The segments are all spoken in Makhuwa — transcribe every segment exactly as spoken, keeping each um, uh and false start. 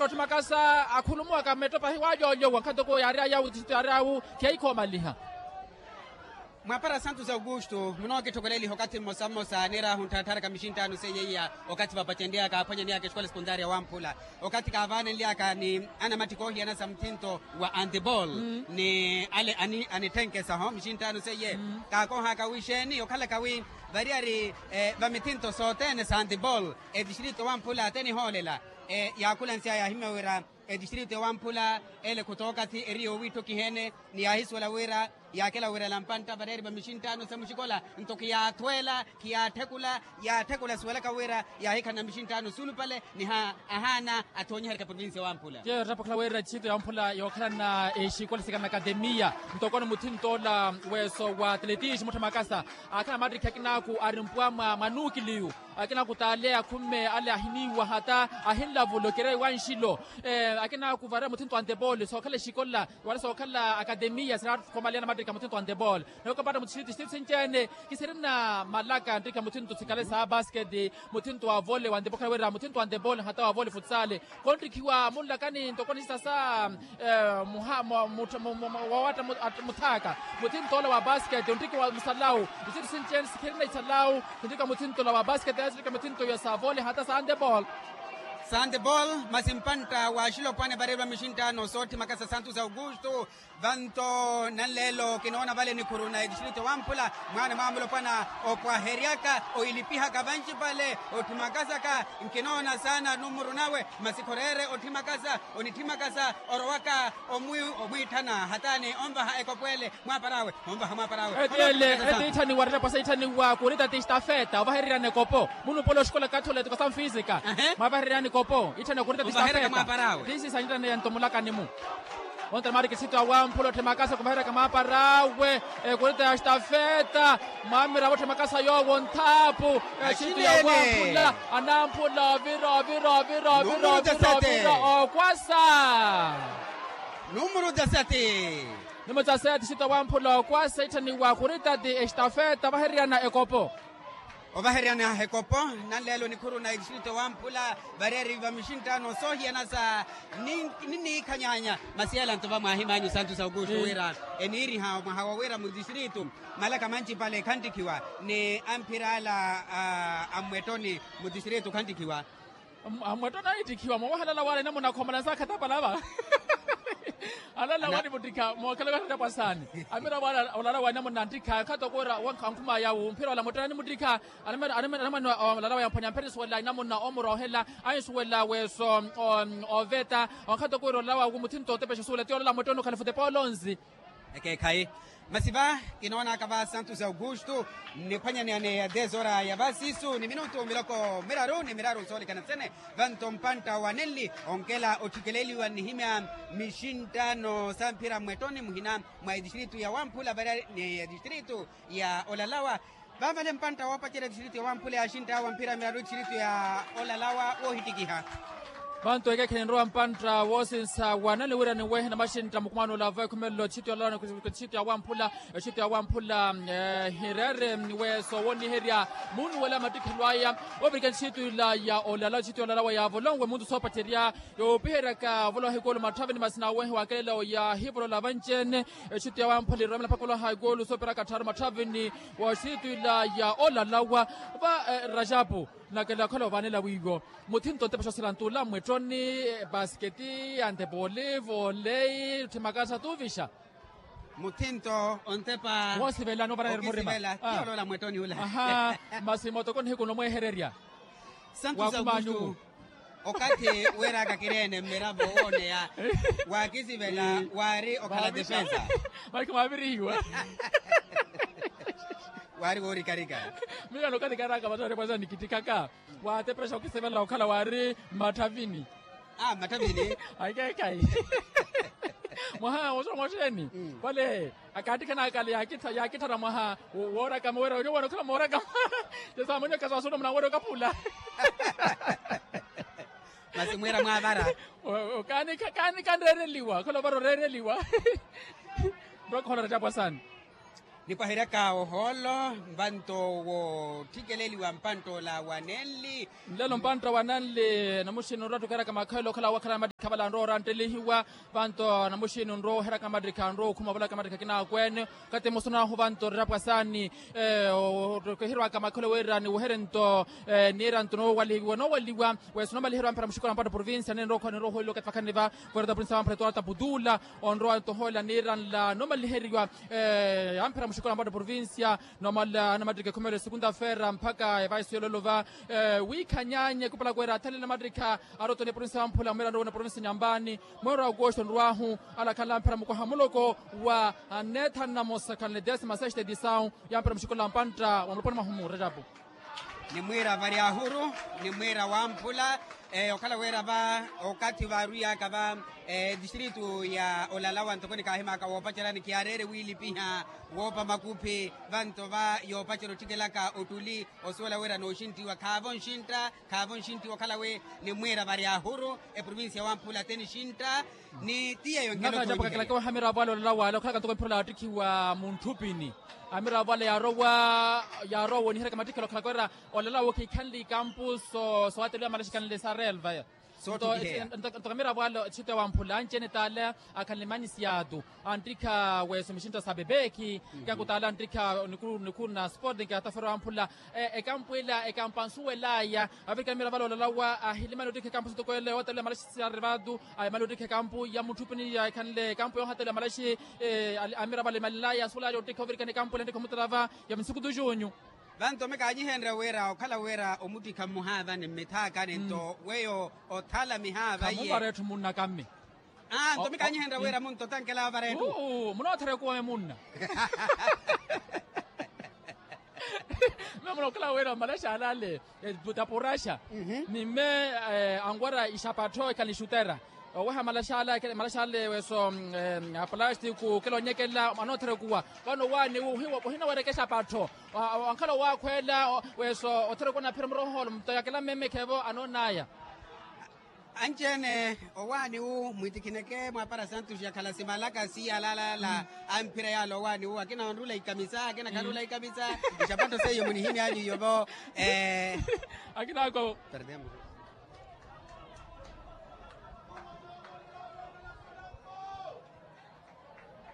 Otthimakasa akhulumuwaka mettopa hiwalyolyowa nkhattoko yaari ayawu tixitto yaari awu khiyaikhoomaliha. Mwaapara santos augusto munookitthokoleliha okathi mmosa mmosa niiraahu ntthattharaka mixinttaano seiya iya okathi vapacenlyaka aphwanyaniyaka exikola sekuntaari ya wamphula. Okathi kaavaanenlyaka ni anamatthikha oohiyana sa muthinto wa antebol ni ale anitthenkesaho mixinttaano seiye. Kaakohaka wixeeni okhalaka wi variyari vamithinto sothene sa antebol etixirito wamphula te nihoolela yaakhulansiya yaahimya wira etixirito ya wamphula ele khutookathi eri yoowiitthokiheene ni yaahisuwela wira yaakela wirela mpantta vareeri va mixinttaano sa muxikola nto khiyaathweela khiyaatthekula yaatthekula suwelaka wira yaahikhalana mixinttaano suulupale ni ahaana athoonyiheryaka provincia wamphula. Tiyo erapokhala wira etixirito ya wamphula yookhalana exikola sikana akatemiya ntokoni muthinto ola weeso wa atletis mutthamakasa aakhala mattikhi akinaaku ari mpwa mwa nuukiliyu akina kutaale akhumme ale ahiniiwa hata ahinlavula okereyi wa nxilo. Akina kuvarira muthinto wa antebol sookhala exikola wala sookhala akatemiya sinakhomaliya namattikha muthinto wa antebol. Nokapata mutixiriti xitixiriti sinci-ene kisirina malaka nttikha muthinto sikhale sa basket muthinto wa vole wa antebol khala wira muthinto wa antebol hata wa vole futsale. Konttikhiwa munlakani ntoko nixita sa muha wawatta muthaaka muthinto ola wa basket onttikiwa musalawu. Isintu sinci-ene sikhirina isalawu sinttiki muthinto ola wa basket sinttiki muthinto ya sa vole hata sa antebol. Sa antebol masi mpantta wa axilopwana vareeriwa mixinttaano sootthimaka sa santos augusto. Vanto nanleelo kinoona vale nikhuru na etixirito wamphula mwaana mwa mulopwana opwaheryaka oilipihaka vancipale otthimakasaka nkinoona saana numuru nawe masi khoreere otthimakasa onitthimakasa orowaka omwiitthana hataani onvaha ekopo ele mwaaparawe onvaha mwaaparawe. Eti ele eti itthaniwa rerepwasa itthaniwa kurita ti stafeta ovahereryani ekopo munupole oxikola kathola etukasamu fisika. Mwaavahereryani ekopo itthaniwa kurita ti stafeta. Tisi sanyittane yanto mulakani-mu. Ontra mariki sitwa wamphula otthimakasa kuvaheraka mwaaparawe ekurita ya stafeta. Mwamiravo otthimakasa yoowo nthaapu exitwa ya wamphula anamphula ovira ovira ovira ovira ovira ovira okwasa. Numuru tasati. Numuru tasati sitwa wamphula okwasa itthaniwa kurita ti estafeta vahereryana ekopo. Ovaheryana ekopo nanleelo nikhuru na etixirito wamphula vareeri va mixinttaano soohiyana sa ninniikhanyahanya masi ela nto vamwaahim'anyu santos augusto wira eniiriha mwaha wa wira mutixirito malaka mancipale khantthikiwa ni amphira ala a mmwettoni mutixirito khantthikiwa. Amwettoni aniittikhiwa moowaha alala wala inamuna akhomalani saakhatapala va alala wani muttikha mookhala okattapwa saani. Amira wala olala wa inamuna anttikha khatoko wira wankhumaya wu mphira wala mwettoni animuttikha. Anamwene olala wa yamphwanya mpherisuwela inamuna omuroohela ansuwela weeso oveta. Onkhatoko wira olala wa muthinto otepexa osuwela ti olala mwettoni okhala futepa olonzi. Ekeekhayi masi va kinoonaka va santos augusto nniphwanyaneyane ya dez hora ya vasisu ni minutu miloko miraru ni miraru soolikana sene. Vanto mpantta wa nenli onkela otthikeleeliwa nnihimya mixinttaano sa mphira mmwettoni muhina mwa etixirito ya wamphula varia ni etixirito ya olalawa. Vavale mpantta woopacerya etixirito ya wamphula yaaxinttawa mphira miraru etixirito ya olalawa woohittikiha. Vantu ekeekhe ninrowa mpantta woosinsa wanani wira niwehe namaxintta mukumano olava ekhumelelo etixito ya wamphula. Etixito ya wamphula hireere weeso wooniherya munuwela mattikhelo aya. Ovirika etixito ila ya olala etixito ya olala wa yaavolonwe muntu soopacerya yoopiheryaka ovolowa hikulu matthavini masi nawehe wakelela oya hivolola vanci-ene. Etixito ya wamphula irowemela mpakha ovolowa hikulu sooperaka attharu matthavini. Wa etixito ila ya olala wa va rajapu nakela okhala ovaanela wiiwo muthinto ontepa xooselantu ola mmwettoni basketi antepoli volei otthimakasa tuuvixa. Muthinto ontepa woosivela noovara eri murima. Okisivela ti oloola mmwettoni ola. Aha. Masi mootoko nihiku nomwehererya santu sa augusto. Okathi weeraka kireene mmiravo wooneya waakisivela waari okhala defensa. Maikha mwaavirihiwa. Waari woorikarika. Miyo nokathi kaaraka vatthu arepwasa nikittikhaka waateperexa okisivela okhala waari mmatthavini. Aa mmatthavini. Akeekhayi. Mwaha woxeeni vale akaattikhanaka ale yaakitthara mwaha woorakama wira onyuwana okhala moorakama. Tesaamwene okaswaasula munawere okaphula. Masi mwiira mwaavara. Kaani kanreereliwa okhala ovara oreereliwa. Nroka ohola rajapu asaani. Nipwaheryaka ohoolo, vanto woottikeleliwa mpantta ola wa nenli. Nlelo mpantta wa nanli namuxini onrowa ottukeraka makhelo okhala wakhala matikha vala anrowa oranttelihiwa. Vanto namuxini onrowa oheryaka matikha anrowa okhuma ovalaka matikha akina akweene. Kati musuna ahu vanto rerapwa saani. Okeheriwaka makhelo wira niweherye nto niira nto noowaliwa noowaliwa. Wesi noomaliherya wamphera muxikola mpantta provincia nenrowa okhwa nenrowa ohooliwa kati vakhani va. Verata provincia wamphera toata putula. Onrowa nto ohoolela niira nla noomaliheriwa. Amphera muxikola mpantta provincia. Nomala anamattikha ekhumelo esegunda feera mpakha evaiso yololova. Wiikhanyaanye khupalaka wira athalele amattikha. Aroto ni provincia wamphula mwira nrowa na provincia nyambani. Mwira wa agosto nrwahu alakhala amphera mukwaha muloko wa neethanu na mosa khanle desima sexta edisawu. Yamphera muxikola mpantta wa muloponi mwahumu retapu. Nimwiira vari ahuru. Nimwiira wamphula. Okhala wira va okathi vaarwiyaka va distritu ya olalawa ntoko nikaahimaka woopacerya nikiyaareere wiilipiha woopa makuphi. Vanto va yoopacerya otthikelaka ottuli osuwela wira nooxinttiwa khaavo nxintta. Khaavo nxintti wokhala wi nimwiira vari ahuru eprovincia wamphula te nixintta. Ni ti yeeyo nkhelo. Nakacapo kakilaka waha amiravo ale olala wale okhalaka ntoko mphira ola yaattikhiwa muntthupini. Amiravo ale yaarowa yaarowa wooniheryaka mattikhelo okhalaka wira olala wookikhanle ikampu soowateliwa malaxi ikhanle sa relva. Nto amiravo ale etthito ya wamphula anci-ene t'ale akhanle manisiyaatu. Anttikha weso mixintta sa bebeki. Kanku t'ale anttikha nikhuru na sporting atafero amphula. Ekampu ila ekampu ansuwel'aya avirikana mira vale olalawa ahilimani ottikha ekampu sitoko ele ootela malaxi siyari vatu. Aimali ottikha ekampu ya mutthupini ya ekhanle ekampu yoohatela malaxi. Amira vale imalil'aya ansuwel'aya ottikha ovirikana ekampu ila nttikha omutela va ya vinsukutu junyu. Vanto mikaanyihenrya wira okhala wira omuttikha mmuhaavani mmithaakani nto weyo othala mihaava iye. Khamuvara etthu munna kamme. Nto mikaanyihenrya wira munto tankelaawo vara etthu. Munootherya okuwa me munna. Mme munookhala wira malaxi alale. Tapuraxa ni mme anwara ixapattho ekhala nixutera. Oweha malaxi ale weso apalastiku okela onyekelela anootherya okuwa. Vano owaani wu ohinawereke exapattho. Ankhala owaakhweela weso otherya okuwa naphira murohoolo mtoyakela mmemekhevo anoon'aya. Anci-ene owaani wu mwitikhineke mwaapara santuxi akhala simalaka siiyalaalala. Amphira yaala owaani wu akina onrula ikamisa akina khanrula ikamisa. Ixapattho seiyo munihimy'anyu iyovo. Akinaako.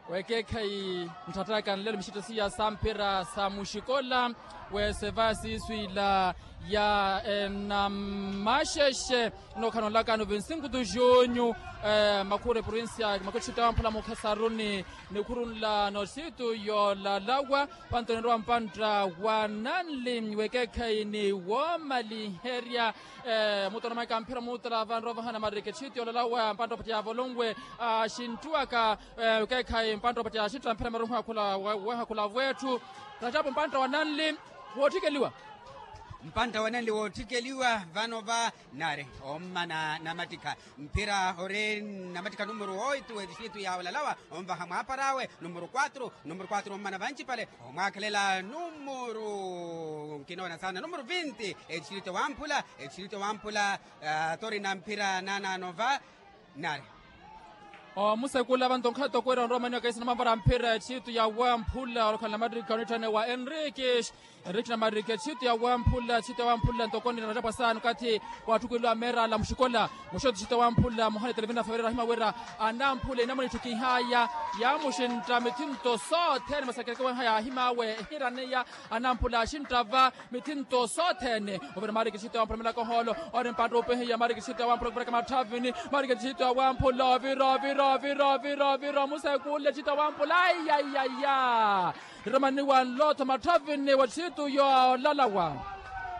Wekeekhayi ntthattaka nlelo mixitto siya samphira sa muxikola. Weseva siisu ila ya enamaxexe nookhanolakano vinsinkutu junyu. Makhuru eprovincia makhuru txitu ya wamphula mukhesaruni nikhuru nla noxitu yoolalawa. Panto ninrowa mpantta wa nanli wekeekhayi ni woomaliherya. Mutono mwaika mphira muutala vanrowa vahana marike txitu yoolalawa mpantta opatya ya volonwe axinttuwaka. Okeekhayi mpantta opatya axintta mphira maruhu akhula weeha akhula vwetthu. Rajapu mpantta wa nanli wootthikeliwa. Mpantta wa nanli wootthikeliwa vano va nari ommana namattikha. Mphira ori namattikha numuru oitu etixitu ya olalawa onvaha mwaapar'awe numuru kwatru. Numuru kwatru ommana vanci pale omwaakhelela numuru nkinoona saana numuru vinti etixitu ya wamphula. Etixitu ya wamphula. Tori na mphira naanaano va nari. Omusekula vanto nkhato kwira onromaniwa kaisi namavara mphira etxitu ya wamphula olokhala namattikha onitthane wa enrique. Enrique namattikha etxitu ya wamphula etxitu ya wamphula ntokoni narajapwa saana okathi waattukweliwa meerala muxikola. Muxoto etxitu ya wamphula muhana etelevina feverera ahima wira anamphula inamuna itthukihaaya yaamuxintta mithinto sothene masakerekeweha yaahim'awe ehiraneya. Anamphula axintta va mithinto sothene. Ovira mariki txitu ya wamphula milaka ohoolo. Ori mpantta opehiya mariki txitu ya wamphula kuviraka matthavini. Mariki txitu ya wamphula ovira ovira ovira ovira ovira omusekule txitu ya wamphula aiyaiya. Niromaniwa nlotho matthavini wa txitu yoolalawa.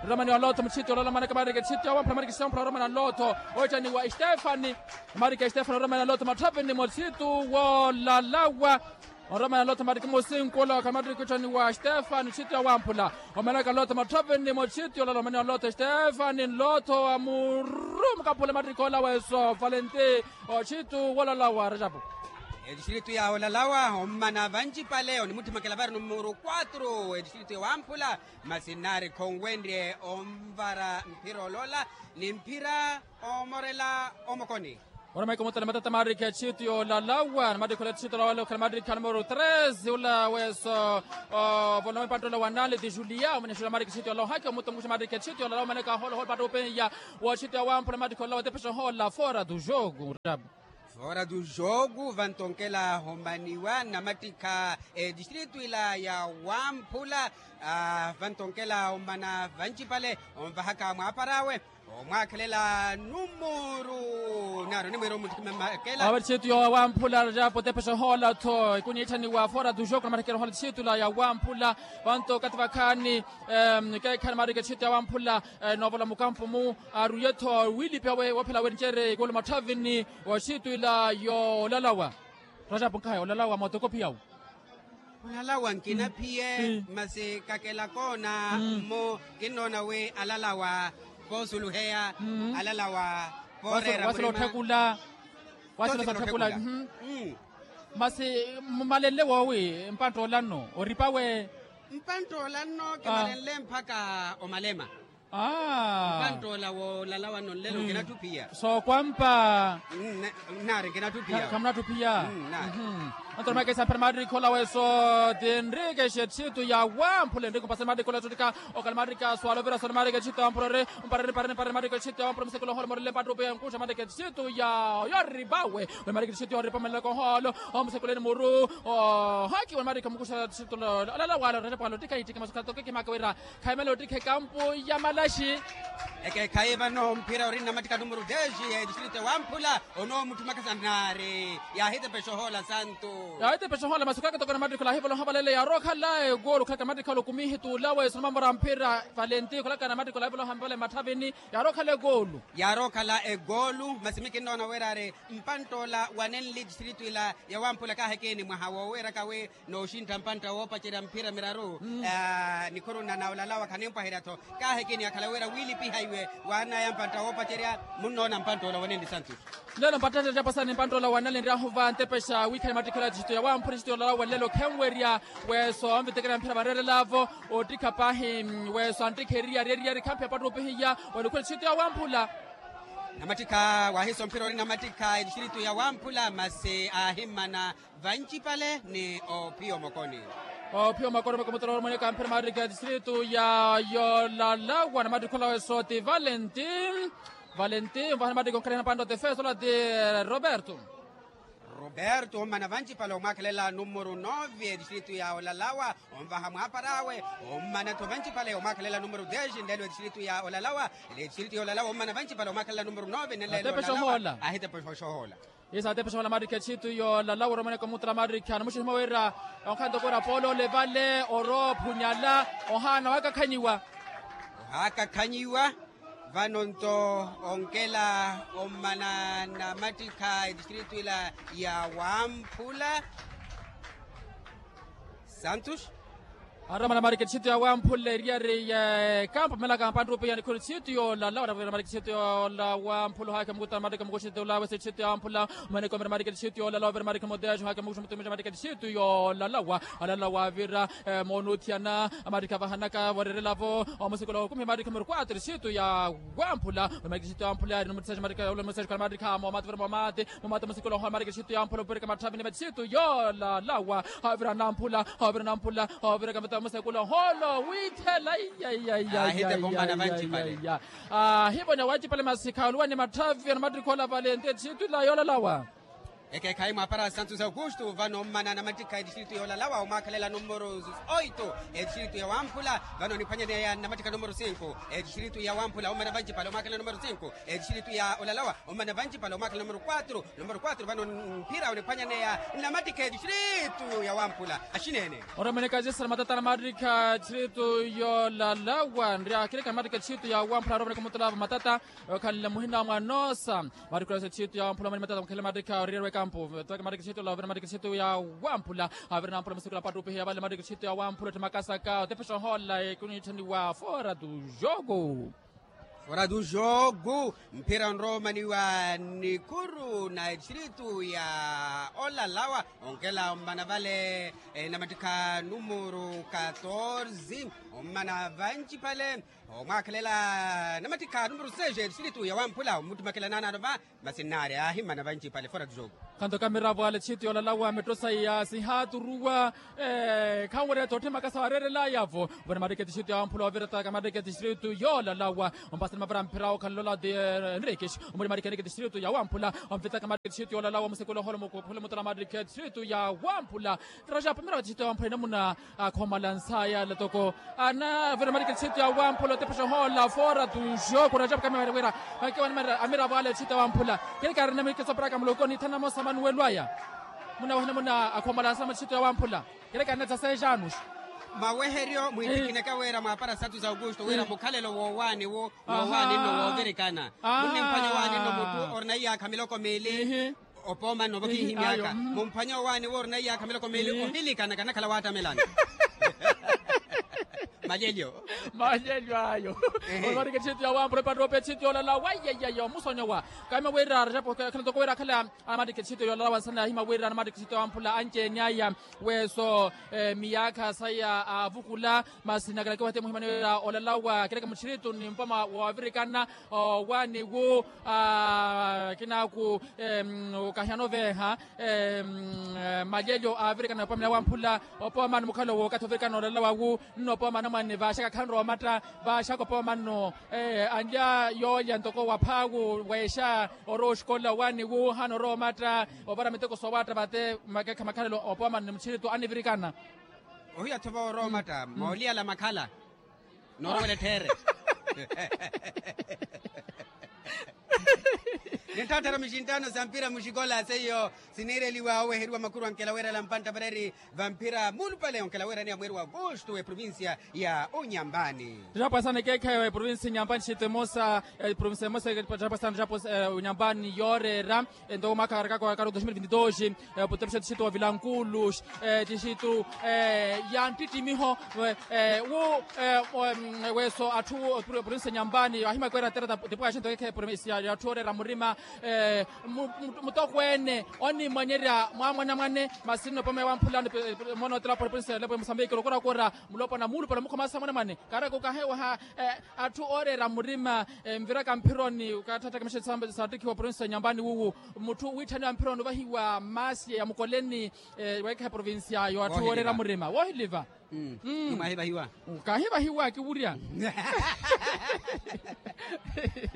Niromaniwa nlotho mutxitu yoolalawa manaka mariki txitu ya wamphula mariki txitu ya wamphula niromaniwa nlotho. Oittaniwa estefani. Mariki estefani niromaniwa nlotho matthavini mwa txitu woolalawa. Onromana nlotho mariki musinkulo akhala mattikhi ottaniwa stefani otxitu ya wamphula. Omanaka nlotho matthavini mwa otxitu yoolala omaniwa nlotho stefani nlotho amurumuka phula mattikhi ola weso valenti. Otxitu woolala wa rajapu. Etixiritu ya olalawa ommana vancipale onimutthimakela vari numuru kwatru etixiritu ya wamphula. Masi nari khonwenrye onvara mphira olola ni mphira omorela omokoni. Ora maiko mutala matata marikha etxitu yolalawa na marikha ola etxitu yolalawa okhala marikha numero tres ula weso. Voloma mpanttola wa nali ti julia omwene julia marikha etxitu yolalawa haki omutu omukuxa marikha etxitu yolalawa omaneka holohola pattupihiya. Wa etxitu yawamphula marikha olalawa tepexohola fora du jogo. Fora du jogo vantonkela homaniwa namatikha edistritu ila yawamphula. Vantonkela omana vancipale onvahaka mwapar'awe omwaakhelela numuru nari onimwira omutthima makela. Awe txitu yowamphula rajapo tepexohola-tho ikuniitthaniwa fora du jogo na marikha erohola txitu ila yawamphula. Vanto okathi vakhaani keekhaani marikha etxitu yawamphula. Noovola mukampu-mu aruye-tho wiilipi awe woophela awe nicere ikulu matthavini. Wa etxitu ila yolalawa rajapo nkhaye olalawa mootokophiyawu. Olalawa nkinaphiye masi kakela koona mmo kinnoona wi alalawa poosuluheya alalawa pooreera murima. Wasila sootthekula. Masi mumalenle woowi mpanttoola nno oripa we. Mpanttoola nno kimalenle mpakha omalema. Mpanttoola wolalawa nno nlelo nkinatthu phiya. Sookwampa. Nari nkinatthu phiya. Khamunatthu phiya. Anto namwekesa mphira maarikha ola weso ti enrique xetxitu yawamphula enrique mpasani maarikha ola etxutika. Okhala maarikha swala ovira swala maarikha etxitu yawamphula ore mparani parani parani maarikha etxitu yawamphula musekulo ohola morele mpattupiya nkuxa maarikha etxitu ya yoripawe. Ore maarikha etxitu yoripa omanelaka oholo omusekuleni muru. Ohaki ore maarikha mukuxa etxitu olalawala orerepwala ottikha ittikha masukhala tokekimaka wira khaimela ottikha ekampu ya malaxi. Ekeekhayi vano mphira ori nnamatikha numero dez ya edistritu yawamphula. Onoomutthumaka sanari yaahitepexa ohoola santu. Yaahitepexa ohoola masi okaakatoko namatikha olahivola ohavalele yaarookhala egoolu okhalaka namatikha olokumihi tuulawe sonamamora mphira valenti okhalaka namatikha olahivola ohavalele matthavini. Yaarookhala egoolu. Yaarookhala egoolu masi mi kinnoona wira ari mpanttoola wanenli edistritu ila yawamphula kaahekeni mwaha woowiiraka wi nooxintta mpantta woopacerya mphira miraru. Nikhurunna na olalawa khanimpwaherya-tho kaahekeni akhala wira wiilipiha iwe waanaya mpantta woopacerya. Munnoona mpanttoola wanenli santu. Lelo mpattata ettapasani mpanttoola wanenli nryahu va ntepexa wiikhani mattikhi ola etxitu yawamphula etxitu yolalawa lelo khenwerya. Weso anvitekerya mphira vareerelavo ottikha paahi. Weso anttikha eriyari eriyari khamphira pattupihiya. Wanikhula etxitu yawamphula. Namattikha waahiso mphira ori namattikha edistritu yawamphula masi aahimmana vancipale ni ophiya omokoni. Ophiya omokoni mwekomotera oromweneka mphira maarikha edistritu ya yolalawa namattikha ola weso ti valenti. Valenti onvahana maarikha onkhalihana pantta otefeso ola ti roberto. Roberto ommana vancipale omwaakhelela numero nove edistritu ya olalawa. Onvaha mwaapar'awe ommana-tho vancipale omwaakhelela numero dez nlelo edistritu ya olalawa. Edistritu ya olalawa ommana vancipale omwaakhelela numero nove nlelo olalawa ahitepexa ohoola. Isa atepexohola maarikha etxitu yolalawa oromaneka omutala maarikha namuxihimo wira onkhanto kura poolole vale oroophunnyala ohaana ohaakakhanyiwa. Ohaakakhanyiwa. Vano nto onkela ommana namattikha edistritu ila ya wamphula. Santos. Aromana marikha etxitu ya wamphula eriyari ya ekampu melaka mpanttrupi ya nikhoni etxitu yolalawa aromana marikha etxitu yolalawa mphula ohaakha mukutana marikha mukuxitula wesi etxitu ya wamphula. Omaneka omira marikha etxitu yolalawa ovira marikha moteyaxi ohaakha mukuxitula marikha etxitu yolalawa. Alalawa avira moonuthiyana amarikha avahanaka vorerelavo omusikula okumi marikha miru kwatru etxitu ya wamphula. Marikha etxitu ya wamphula yari numutisa marikha ula mutisa khala marikha momati vira momati. Mumata musikulu ohola marikha etxitu ya wamphula opirika matthavini va etxitu yolalawa. Havira namphula havira namphula havira kamata musikulu oholo withela. Iyaiyaiyaiya. Ahivona wancipale masi khaluwa ni matthavi anamattikha ola valenti etxitu ila yolalawa. Ekeekhayi mwaapara santos augusto vano ommana namattikha etxitu yolalawa omwaakhelela numero oito. Etxitu ya wamphula vano oniphwanyaneya namattikha numero cinco. Etxitu ya wamphula ommana vancipale omwaakhelela numero cinco. Etxitu ya olalawa ommana vancipale omwaakhelela numero quatro. Numero quatro vano mphira oniphwanyaneya nnamattikha etxitu ya wamphula. Axineene. Oromeneka cisara matata namattikha etxitu yolalawa nryakhirika namattikha etxitu ya wamphula oromeneka omutulava matata. Okhanle muhina wa mwanoosa. Marikhu esa etxitu ya wamphula mani matata mukhele marikha oriyerwa ekampu. Marikhu etxitu ya wamphula. Avira namphula musikula pattupihiya vale marikhu etxitu ya wamphula otthimakasaka otepexa ohola ekuniitthaniwa fora tu jogo. Fora du jogu, mphira onroomaniwa nikuru na distritu ya olalawa, onkela ommana vale, namattikha numuru katorze, ommana vanci phale, omwaakhelela namattikha numuru seis distritu ya wamphula ommuttumakela naanaano va. Masi nnaari aahimana vanci phale fora du jogu. Khanto kamiravo ale distritu yoolalawa metto saiya sihaaturuwa. Khanwerya tootthimaka saareerelaya-vo. Vona mattike distritu ya wamphula ovirata ka mattike distritu yoolalawa. Ompasani mavara mphira okhalalola de enriquis, omuli mattike distritu ya wamphula. Omvitaka mattike distritu yoolalawa omusekula oholo mukuphule mutala mattike distritu ya wamphula. Rajapu miravo distritu ya wamphula enamuna akhomalansa yala toko. Ana vira mattike distritu ya wamphula otepexa ohoola fora du jogu rajapu kamiravo ale distritu ya wamphula. Keri kaarina mittike sooparaka muloko niithana mosa manuwelo aya. Muna wahina muna akhomalansa mwa distritu ya wamphula. Keri kaarina dzaseis anos. Maweheryo mwiittikineke wira mwaapara satu za augusto wira mukhalelo woowaani wu woowaani nno woovirikana. Munnimphwanya owaani nno muttu orina iyaakha miloko miili. Opoomanno vo kiihi myaaka mumphwanya owaani wu orina iyaakha miloko miili ohilikana kanakhala waattamelana. Malyelyo. Malyelyo ayo. Omarike tthittu ya wamphula epattope tthittu yoolala waiyaiyaiya omusonyowa. Kaima wira rajapu khela toko wira akhala amarike tthittu yoolala wansana yaahima wira amarike tthittu ya wamphula anci-ene aya. Weeso miyaakha saya aavukula masi nakalakiwa hati muhimani wira olalawa kereke mutthirituni mpoma woovirikana. Owaani wu akinaaku okahiyana oveeha. Malyelyo aavirikana opomani wamphula opomani mukhalo wookathi ovirikana olalawa wu. Nno opomani anamwane vaaxaka khanrowa omatta vaaxaka opomani anlya yoolya ntoko waphaawu weexa orowa oxikola owaani wu hanoorowa omatta. Ovara miteko soowaatta vate makeekha makhalelo opomani mutthirituni anivirikana. Ohiya-tho voorowa omatta mooliyala makhala. Noorowela etthiiri. Nintthaattara mixinttaano sa mpira muxikola seiyo siniireliwa oweheriwa makuru ankela weerela mpantta vareri vamphira muulupale onkela weeraniya mweeri wa augusto eprovincia ya onyambani. Ttitthapwasana ekeekhayi eprovincia onyambani ttitthittu emosa. Eprovincia emosa ttitthapwasana ttitthapwasana onyambani yooreera. Ento mwaakha karakaka karu dos mil vinti dos. Oputepusha tixittu wa vilankulus tixittu ya nttittimiho wu weeso atthu oprinse nyambani ahimakweera tera tipukaxento kekhe provinsia ya atthu ooreera murima. Mutokweene onimwanyerya mwamwanamwane masi nno pome wamphulano moona otela oprinse lepo musambiki lokorakora mulopona muulupale mukhomasa mwanamwane. Karaka okahewaha atthu ooreera murima. Nviraka mphironi okatthattaka mexesambe saattikhiwa provinsi ya nyambani wuwu mutthu wiitthaniwa mphironi ovahiwa maasi ya mukoleni. Weekhayi provinsi yayo atthu ooreera murima woohiliva. Mwahivahiwa kahivahiwa kiwurya.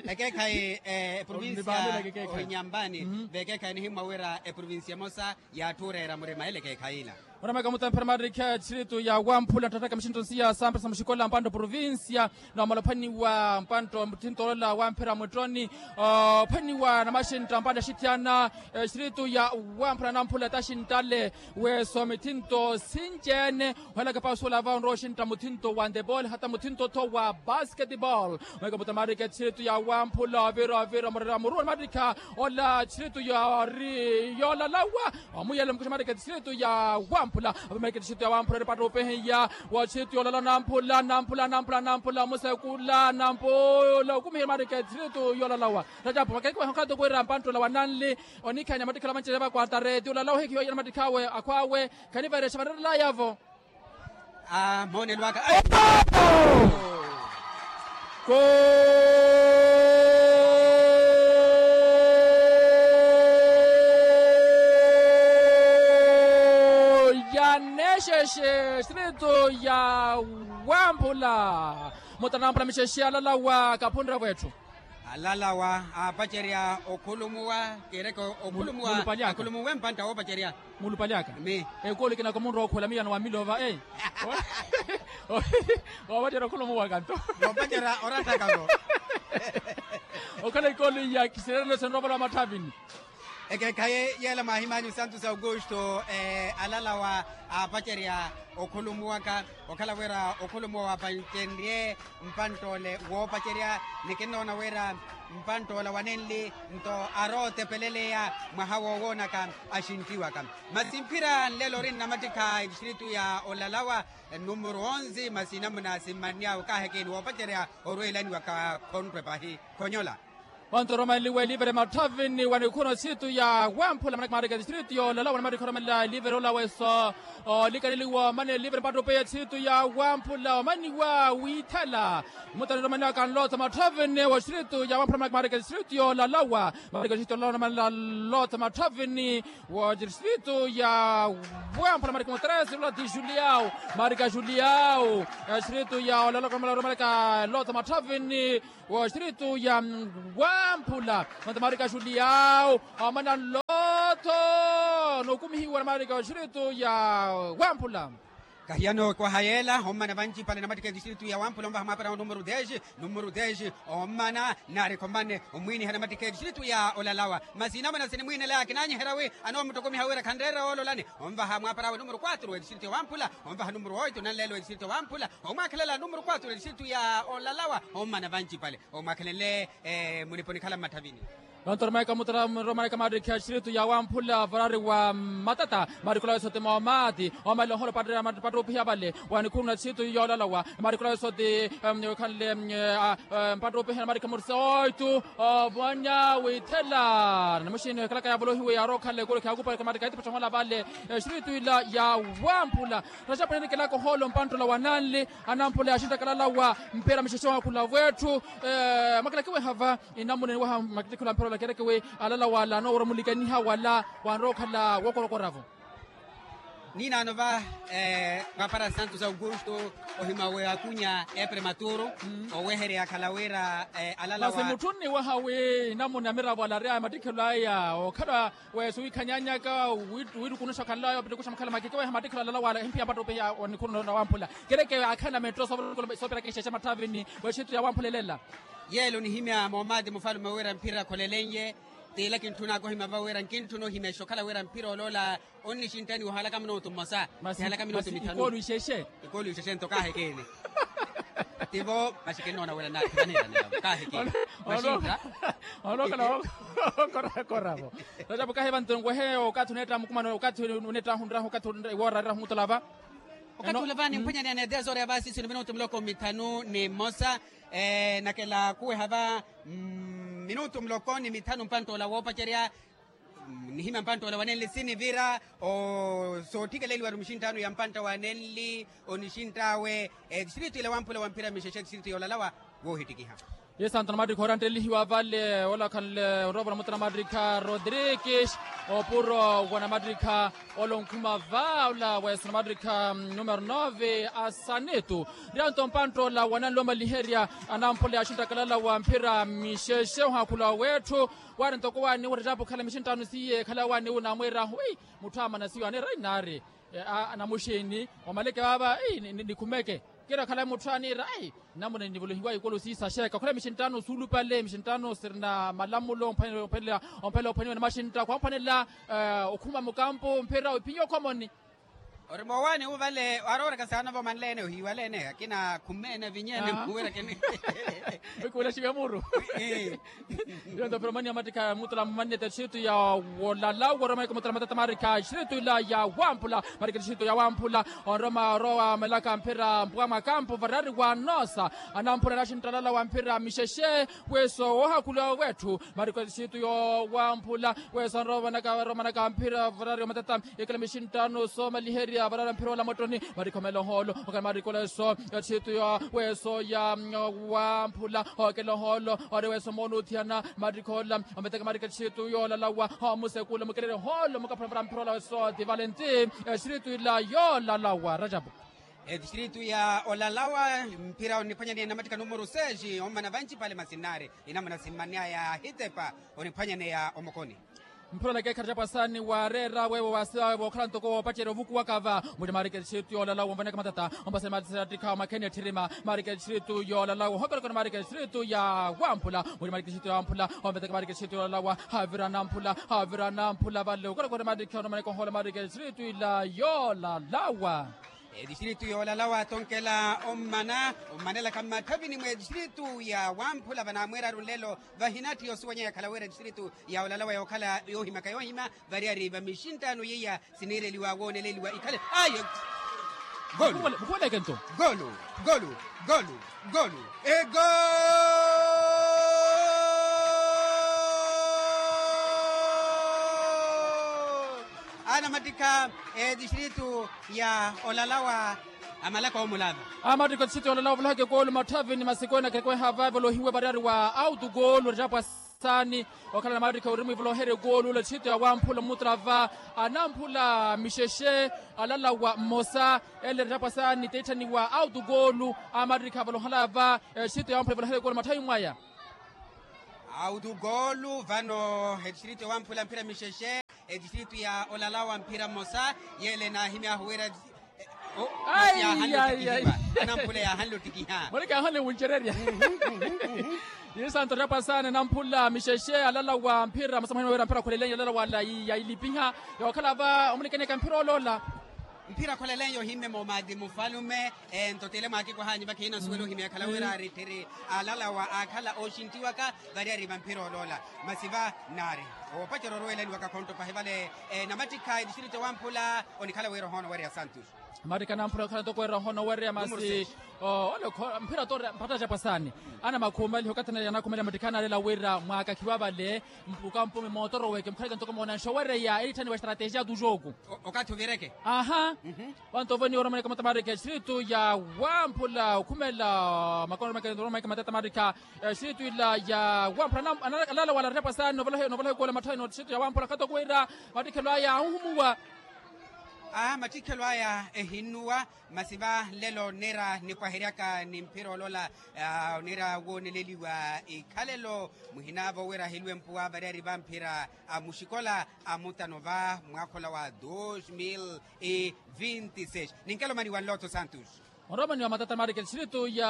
Ekeekhayi eprovinsi ya nyambani veekeekhayi nihimmwa wira eprovinsi emosa y'atthu ooreera murima ele ekeekhayi ila. Onamweka muttamphera maarikha tixiritu ya wamphula nttatthaka mixintto nsiya samphesa muxikola mpantta provinsia. Noomala ophwaniwa mpantta muttinto olola wamphera mwittoni ophwaniwa namaxintta mpantta axithyana tixiritu ya wamphula namphula taxinttale. Weeso mittinto sinci-ene ohelaka pausuwela va onrowa oxintta muttinto wa ndebol hata muttinto-tho wa basketbol. Mweka muttamaatikha tixiritu ya wamphula ovira ovira murera muruwa namaattikha ola tixiritu yori yoolalawa. Omuyela mukuxa maarikha tixiritu ya wamphula. Ava maarikha tixiritu ya wamphula eri patta opehiya wa tixiritu yoolalawa namphula namphula namphula namphula musekula namphula okumihela maarikha tixiritu yoolalawa. Tacapo makekiwa hokhala toko wira mpanttula wa nanli onikhanya mattikhala manci eva kwatareti olalawa ohikihiwa ya namattikhawe akhwawe. Khanivaresha varerelayavo. Moonelo aka. Ya nexexe tixiritu ya wamphula. Muttanamphula mixexe alalawa kaphunravo etthu. Alalawa aapacerya okhulumuwa kereke okhulumuwa akhulumuwe mpantta woopacerya. Muulupale aka ekulu ekinaka omunrowa okhuwela miyano wa milova e. Woopacerya okhulumuwa kanto. Noopacerya oratthakavo. Okhala ekulu iya kisireerelo sinrowa vale wa matthavini. Ekeekhayi yeela mwaahimanyu santos augusto. Alalawa aapacerya okhulumuwaka okhala wira okhulumuwa waapacenrye mpantt'ole woopacerya. Ni kinnoona wira mpantt'ola wa nenli nto arootepeleleya mwaha woowoonaka axintiwaka. Masi mphira nlelo ori nnamattikha etistritu ya olalawa numuru onze masi namuna simmanny'awe kaahekeni woopacerya orweelaniwaka khonttwe pahi khonyola. Onto romanliwa elivere matthavini wa nikhuno tsitu ya wamphula manaka maarika tsitu yoolalawa namari khoromanla elivere olaweso. Olikaneliwa omana elivere mpattupe ya tsitu ya wamphula omaniwa wiithela. Mutani romanaka nlotha matthavini wa tsitu ya wamphula manaka maarika tsitu yoolalawa marika tsitu yoolalawa namari nlotha matthavini wa tsitu ya wamphula marika mutresi lula ti juliau marika juliau. Tsitu ya olalawa romanaka nlotha matthavini wa xitritu ya wamphula. Mantha maarika juliau omana nlotho nookumihiwa na maarika xitritu ya wamphula. Kahiya nookwaha yeela ommana vancipale namattikha etistritu ya wamphula onvaha mwaapara wa numuru dez. Numuru dez ommana naari khomane omwiiniha namattikha etistritu ya olalawa. Masi namuna sinimwiinelaya kinaanyiherya wi anoomuttukumiha wira khanreera woololani onvaha mwaapara wa numuru quatro etistritu ya wamphula onvaha numuru oito nanleelo etistritu ya wamphula. Omwaakhelela numuru quatro etistritu ya olalawa ommana vancipale omwaakhelele. Muniponikhala mmatthavini. Vantu romaika mutara romaika maarikhi a xitritu ya wamphula varari wa matata marikula wesoti moomati omalelo oholo pattupiha vale wa nikhuruna xitritu yoolalawa marikula wesoti. Khanle mpattupiha na marikhi murisa oitu. Ovanya withela namuxini ekhalaka yavolohiwe yarookhala ekulu khiyakupaleka marikhi aitipattohola vale. Xitritu ila ya wamphula raxapu ninikelaka ohoolo mpanttola wa nanli anamphula yaxinttakalalawa mpira mixexe ohakhula vwetthu. Mwakilaki wehava inamuna eniwaha makittikhilo a mphira olakhereke wi alala wala anoowara omulikaniha wala wanrowa okhala wokorokoravo. Ninaano va mwaapara santos augusto ohima weakunya eprematuro oweherya akhala wira alala masi wa mutthunni waha wi inamuna miravo ala ari a mattikhilo aya okhala weso wiikhanyanyaka wiirukunuxa okhanlayo opitikuxa makhala makiki weha mattikhilo alala wala ehimpiya mpattupiha wa nikhuru na wamphula. Kereke akhala metto soopiraka exexe matthavini wexittu ya wamphula elela. Yeela onihimya moomati mufalume wira mphira kholelenye. Tiila kintthunaka ohima va wira nkintthuna ohimya exokhala wira mphira oloola onnixinttani wahalaka minutu mmosa. Masi ikoolu ixexe. Ikoolu ixexe nto kaahekene. Tivo masi kinnoona wira naathivanira navo kaahekene. Masi ntta. Olokhala okorakoravo. Rajapu kahiva nto nkwehe okathi oneetta mukumano okathi oneetta ahunrahu okathi iwoora arirahu mutolava. Okathi ula va nimphwanyaneya ni dez hora ya vasisi ni minutu muloko mithanu ni mmosa. Nakela kuweha va minutu muloko ni mithanu mpanttoola woopacerya. Nihimya mpanttoola wa nenli sinivira sootthikela eliwari muxinttano ya mpantta wa nenli onixintt'awe. Etistritu ila wamphula wa mphira mixexe etistritu yoolalawa woohittikiha. Yesanto namattikha oranttelihiwa vale ola khanle onrovo namutana namattikha rodrigues opuro wa namattikha ola onkhuma va ola weso namattikha numero nove asanitu. Rianto mpanttoola wananli omaliherya anamphula yaxinttakalala wa mphira mixexe ohakhula wetthu. Waari ntoko waaniwa orettapo okhala mixinttano siye ekhala waaniwa namwiirahu ei mutthu amana siyo aneera ei naari namuxiini omaleke vaava ei nikhumeke. Kira okhala mutthu aniira ei namuna nivolohiwa ikulu siisaxeeka okhala mixinttano suulupale mixinttano sirina malamulo omphanela ophwaniwa ni maxintta khwamphwanela okhuma mukampu mphira iphinyi okhomoni. Ori moowaani wuvale arooraka saana vomanleene ohiiwaleene akina khumeene avinyeene muwerakene. Wikuulaxiwe muru. Iyo nto pero mani amattikha mutula mumannete xitu ya wolala woromaiko mutula matata marikha xitu ila ya wamphula marikha xitu ya wamphula. Onroma orowa melaka mphira mpuwa mwa kampu varari wa noosa anamphula naxinttalala wa mphira mixexe. Weso woohakhula wetthu marikha xitu yo wamphula. Weso anrowa vanaka varomanaka mphira varari wa matata. Ekela mixinttano soomaliherya varara mphira ola mwattoni marikha omela ohoolo okhala marikha ola eso. Ethitu ya weso ya wamphula okela ohoolo ori weso moona othiyana marikha ola ometeka marikha ethitu yoolalawa omusekula omukelele ohoolo omukaphula mphira ola eso ti valenti. Ethitu ila yoolalawa rajapu. Ethitu ya olalawa mphira oniphwanyaneya namattika numuru seis ommana vancipale masi nnaari inamuna simmanneya yaahitepa oniphwanyaneya omokoni. Mphira olakeekha racapwasaani waareera weewo waasiwa weewo okhala ntoko woopacerya ovukuwaka va. Muli maariketi txiritu yoolalawa onvanaka matata. Ompasani maatisa yattikha omakheni etthirima maariketi txiritu yoolalawa ohokolokoni maariketi txiritu ya wamphula. Muli maariketi txiritu ya wamphula onvetaka maariketi txiritu yoolalawa. Haavira anamphula haavira anamphula vale okolokoni maariketi txiritu yoolalawa. Etistritu yoolalawa tonkela ommana ommanelaka mmatthavini mwa etistritu ya wamphula vanaamweeraru nlelo. Vahinatthi yosuwanya yakhala wira etistritu ya olalawa yookhala yoohimaka yoohima. Variyari va mixinttano yeiya siniireliwa wooneleliwa ikhale ayo. Golu. Golu. Golu. Golu. Golu. Ego. Anamattikha etistritu ya olalawa amalaka omulava. Amattikha etistritu ya olalawa ovolohaka ekoolu matthavini masikwena kekweha vave olohiwe variyari wa autu goolu racapwa saani okhala namattikha ori mwivoloherya ekoolu ole etistritu ya wamphula omutula va anamphula mixexe alalawa mmosa. Ele racapwa saani teitthaniwa autu goolu amattikha avolohala va etistritu ya wamphula evoloherya ekoolu matthavini mwaya. Autu goolu vano etistritu ya wamphula mphira mixexe etistritu ya olalawa mphira mmosa. Yele naahimyahu wira yaahanle ottikihiwa. Anamphula yaahanle ottikiha muli kaahanle wuncererya. Isanto racapwa saani anamphula mixexe alalawa mphira mmosa mwahimya wira mphira akholelenya alalawa yailipiha yookhala va omulikaniyaka mphira oloola. Mphira akholelenya ohimme moomaati mufalume. Ento tile mwaakikwahanyi vakhiina osuwela ohimya ekhala wira aritthiri alalawa aakhala ooxinttiwaka variyari va mphira oloola. Masi va naari oopacerya orowelaniwaka khonto pahi vale. Namattikha etistritu ya wamphula onikhala wira ohoona owereya santos. Mattikha anamphula okhala ntoko wira ohoona owereya masi. Ole mphira toora mpatacapwa saani anamakhumaliha okathi anakhumaliha mattikha anaalela wira mwaakakhiwa vale mpuka mpume mootoro weke mukhaleke ntoko moonansha owereya eritthaniwa estrategia tujoku. Okathi ovireke. Aha. Vanto ovoniwa oromaneka matamaarikha etistritu ya wamphula okhumela makono oromaneka matamaarikha etistritu ila ya wamphula alala wala racapwa saani novolaha ekoola matthawini etistritu ya wamphula khatoko wira mattikhelo aya ahuhumuwa. Aa mattikhelo aya ehinnuwa. Masi va nlelo onniira nipwaheryaka ni mphira oloola. Onniira wooneleliwa ikhalelo muhinaavo wira ahiluwe mpuwa variyari va mphira a muxikola a mutano va mwaakhola wa dos mil e vinti seis. Ninkelo omaniwa nlotho santos. Oromaniwa matata maarikha etistritu ya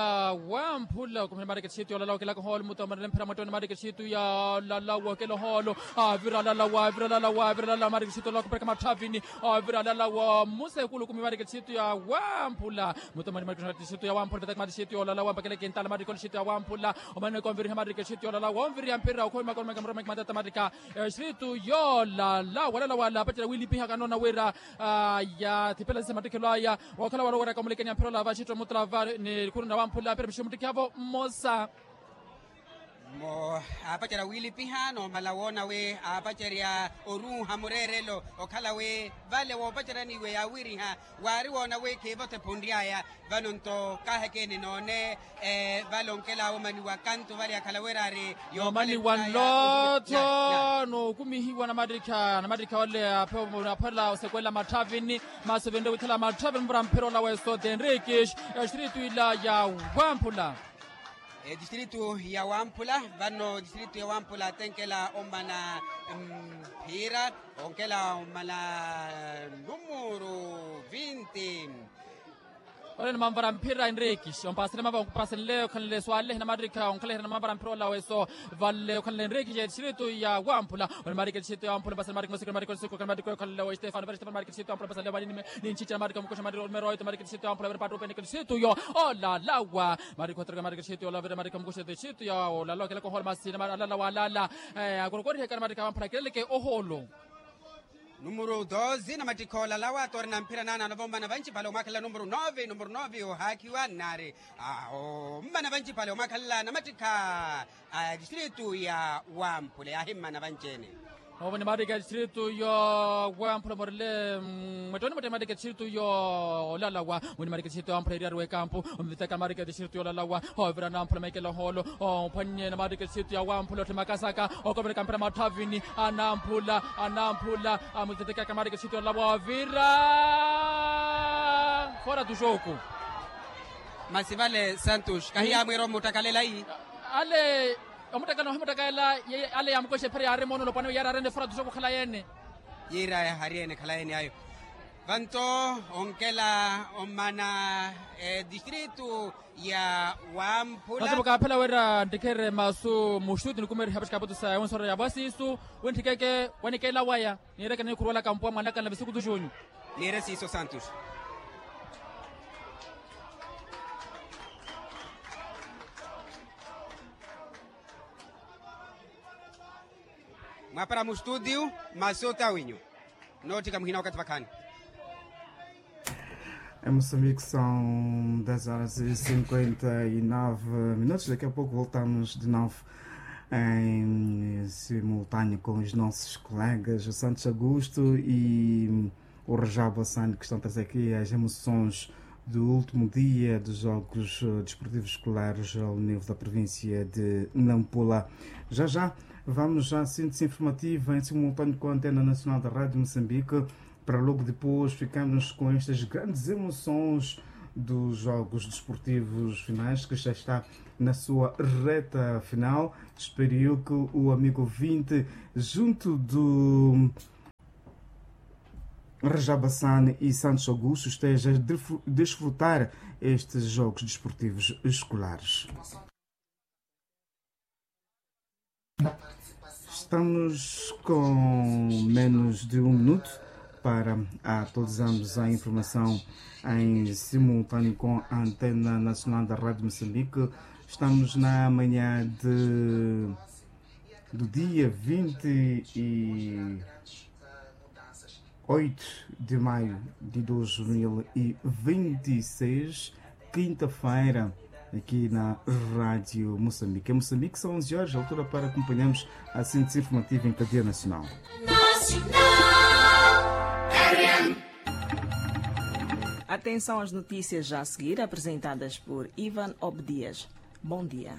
wamphula okhumela maarikha etistritu ya olalawa okela kohoolo muta omanele mphira mwattoni maarikha etistritu ya olalawa okela ohoolo. Avira alalawa avira alalawa avira alalawa maarikha etistritu ya olalawa okhupereka matthavini. Avira alalawa mmusa ekulu okhumi maarikha etistritu ya wamphula. Muta omanele maarikha etistritu ya wamphula vetaka maarikha etistritu ya olalawa mpakele kintala maarikha etistritu ya wamphula. Omanele konviriha maarikha etistritu ya olalawa onviriha mphira okhumi makono maarikha matata maarikha etistritu ya olalawa alalawa alapacela wiilipihaka noona wira yaathipela sisa mattikhelo aya. Wookhala wala oweraka omulekeni ya mphira olava axitto mutula va ni khuruna wamphula mphira mixi muttikihavo mmosa. Mmo aapacerya wiilipiha noomala woona wi aapacerya oruuha mureerelo okhala wi vale woopaceryaniwe yaawiriha. Waari woona wi khiivote phunry'aya. Vano nto kaahekeni noone vale onkelaawo omaniwa kantu vale yakhala wira ari yoomaniwa nlootho nookumihiwa namattikha namattikha ole aphela osekwela matthavini. Masi ovinre withala matthavini mura mphira olawa eso tenrikis. Etistritu ila ya wamphula. Etistritu ya wamphula. Vano etistritu ya wamphula tenkela omana mphira onkela omana numuru vinti. Ole ni manvara mphira enrikis ompasele mava onkupasenle okhanle swalehe namattikha onkhalehera na manvara mphira olawa eso. Vale okhanle enrikis etistritu ya wamphula. Ole maarikha etistritu ya wamphula ompasele maarikha mosika maarikha osiku okhanle maarikha okhanle wa estefano vale estefano maarikha etistritu ya wamphula ompasele wanimeroito maarikha etistritu ya wamphula vale patrupe nika etistritu yo olalawa. Maarikha otereka maarikha etistritu ya olalawa vale maarikha mukhuxa etistritu ya olalawa kelaka ohoolo masina alalawa alala. Akorokoriheka na maarikha wamphula keleleke ohoolo. Numuru doze namattikha olalawa toori na mphira naana anovommana vanci pale omwakhalela numuru nove numuru nove ohaakhiwa nnaari. Awo mmana vanci pale omwakhalela namattikha a etistritu ya wamphula yaahimmana vanci-ene. Ovo ni maarikha etistritu yo wamphula morile mwettoni mwettoni maarikha etistritu yo olalawa. Mwini maarikha etistritu ya wamphula eriyari w'ekampu omvitaka maarikha etistritu yo olalawa. Ovira anamphula maikela ohoolo ophwannye na maarikha etistritu ya wamphula otthimakasaka okovereka mphira matthavini. Anamphula anamphula amutheteke akamaarikha etistritu ya olalawa ovira fora tu joku. Masi vale santos kahiyaamwiira omuttakaleleiyi ale. Omuttekela nohimuttekela. Ale yaamukoixa ephera yaari moonolo pwani yaari areene efura tuxoku okhala yeene. Yiira yahaari ene ekhala ene ayo. Vanto onkela omana edistritu ya wamphula. Vasivo kaaphela wira ntikherere masu muxuti nikumeeriha vaxikaputu sa ewonsoro ya vasisu. Winthikeke wanikela waya niireke niikhuruwelaka mpuwa mwanakana visukutu xunyu. Niire siiso santus. Mwapara mu studio masota winyu. Nootthika muhina wakati vakhaani. Em Moçambique são dez horas e cinquenta e nove minutos. Daqui a pouco voltamos de novo em simultâneo com os nossos colegas o Santos Augusto e o Rajab Hassan, que estão a trazer aqui as emoções do último dia dos Jogos Desportivos Escolares ao nível da província de Nampula. Já já vamos à síntese informativa em simultâneo com a Antena Nacional da Rádio Moçambique, para logo depois ficarmos com estas grandes emoções dos Jogos Desportivos Finais, que já está na sua reta final. Espero eu que o amigo ouvinte, junto do Rajab Hassan e Santos Augusto, esteja a desfrutar estes Jogos Desportivos Escolares. Estamos com menos de um minuto para atualizarmos a informação em simultâneo com a Antena Nacional da Rádio Moçambique. Estamos na manhã de, do dia vinte e oito de maio de dois mil e vinte e seis, quinta-feira, aqui na Rádio Moçambique. Em Moçambique são onze horas, altura para acompanharmos a síntese informativa em cadeia nacional. Atenção às notícias já a seguir, apresentadas por Ivan Obdias. Bom dia.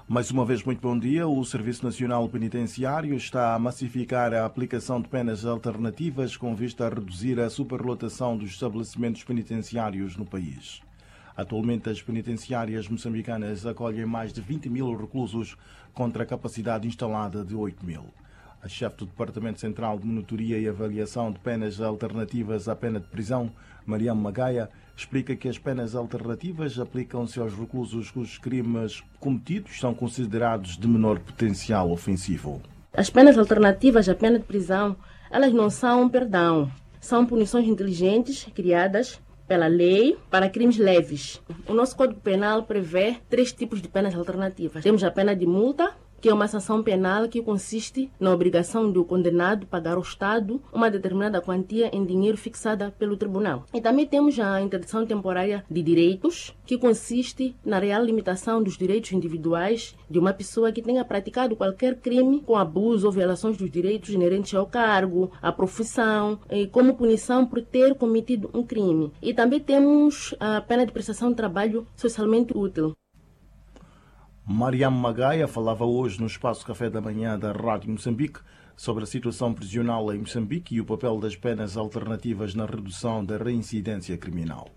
Mais uma vez, muito bom dia. O Serviço Nacional Penitenciário está a massificar a aplicação de penas alternativas com vista a reduzir a superlotação dos estabelecimentos penitenciários no país. Atualmente, as penitenciárias moçambicanas acolhem mais de vinte mil reclusos, contra a capacidade instalada de oito mil. A chefe do Departamento Central de Monitoria e Avaliação de Penas Alternativas à Pena de Prisão, Mariam Magaia, explica que as penas alternativas aplicam-se aos reclusos cujos crimes cometidos são considerados de menor potencial ofensivo. As penas alternativas à pena de prisão, elas não são perdão, são punições inteligentes criadas pela lei para crimes leves. O nosso Código Penal prevê três tipos de penas alternativas. Temos a pena de multa, que é uma sanção penal que consiste na obrigação do condenado pagar ao Estado uma determinada quantia em dinheiro fixada pelo tribunal. E também temos a interdição temporária de direitos, que consiste na real limitação dos direitos individuais de uma pessoa que tenha praticado qualquer crime com abuso ou violações dos direitos inerentes ao cargo, à profissão, e como punição por ter cometido um crime. E também temos a pena de prestação de trabalho socialmente útil. Mariam Magaia falava hoje no Espaço Café da Manhã da Rádio Moçambique sobre a situação prisional em Moçambique e o papel das penas alternativas na redução da reincidência criminal.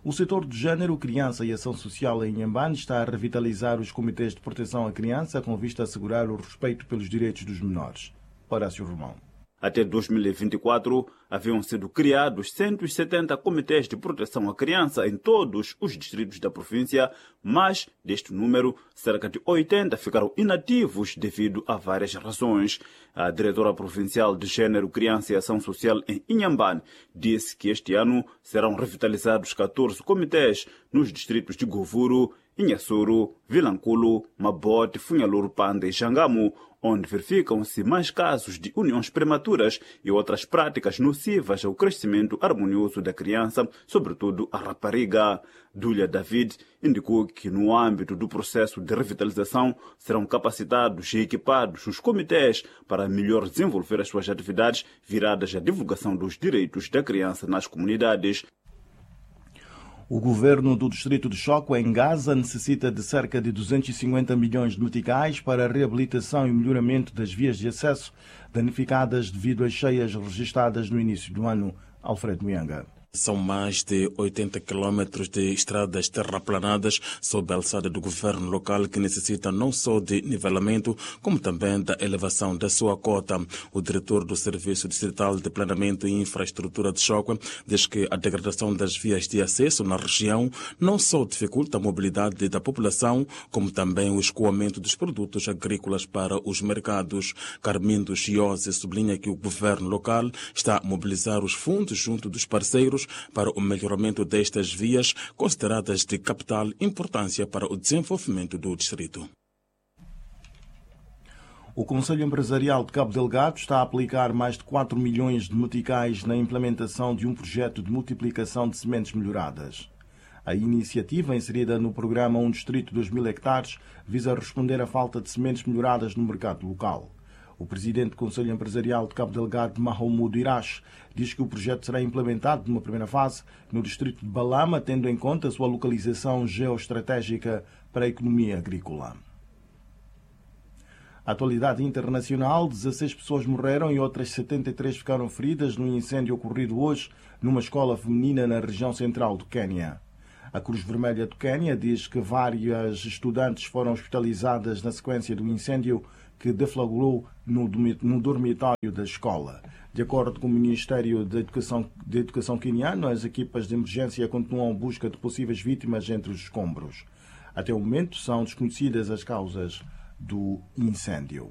O setor de género, criança e ação social em Inhambane está a revitalizar os comitês de proteção à criança com vista a assegurar o respeito pelos direitos dos menores. Horácio Romão. Até dois mil e vinte e quatro, haviam sido criados cento e setenta comitês de proteção à criança em todos os distritos da província, mas, deste número, cerca de oitenta ficaram inativos devido a várias razões. A diretora provincial de Género, Criança e Ação Social em Inhambane disse que este ano serão revitalizados catorze comitês nos distritos de Govuro, Inhasuru, Vilankulu, Mabote, Funyaluru, Panda e Xangamu, onde verificam-se mais casos de uniões prematuras e outras práticas nocivas ao crescimento harmonioso da criança, sobretudo a rapariga. Dulia David indicou que, no âmbito do processo de revitalização, serão capacitados e equipados os comitês para melhor desenvolver as suas atividades viradas à divulgação dos direitos da criança nas comunidades. O governo do distrito de Choco, em Gaza, necessita de cerca de duzentos e cinquenta milhões de meticais para a reabilitação e melhoramento das vias de acesso danificadas devido às cheias registadas no início do ano. Alfred Muyanga. São mais de oitenta quilómetros de estradas terraplanadas sob a alçada do governo local, que necessita não só de nivelamento, como também da elevação da sua cota. O diretor do Serviço Distrital de Planeamento e Infraestrutura de Chokwe diz que a degradação das vias de acesso na região não só dificulta a mobilidade da população, como também o escoamento dos produtos agrícolas para os mercados. Carmindo Chiosi sublinha que o governo local está a mobilizar os fundos junto dos parceiros para o melhoramento destas vias, consideradas de capital importância para o desenvolvimento do distrito. O Conselho Empresarial de Cabo Delgado está a aplicar mais de quatro milhões de meticais na implementação de um projeto de multiplicação de sementes melhoradas. A iniciativa, inserida no programa Um Distrito dois mil hectares, visa responder à falta de sementes melhoradas no mercado local. O presidente do Conselho Empresarial de Cabo Delgado, Mahmoud Irache, diz que o projeto será implementado numa primeira fase no distrito de Balama, tendo em conta a sua localização geoestratégica para a economia agrícola. Atualidade internacional: dezasseis pessoas morreram e outras setenta e três ficaram feridas num incêndio ocorrido hoje numa escola feminina na região central do Quênia. A Cruz Vermelha do Quênia diz que várias estudantes foram hospitalizadas na sequência do incêndio que deflagrou no dormi-, no dormitório da escola. De acordo com o Ministério da Educação, da Educação queniano, as equipas de emergência continuam a busca de possíveis vítimas entre os escombros. Até o momento, são desconhecidas as causas do incêndio.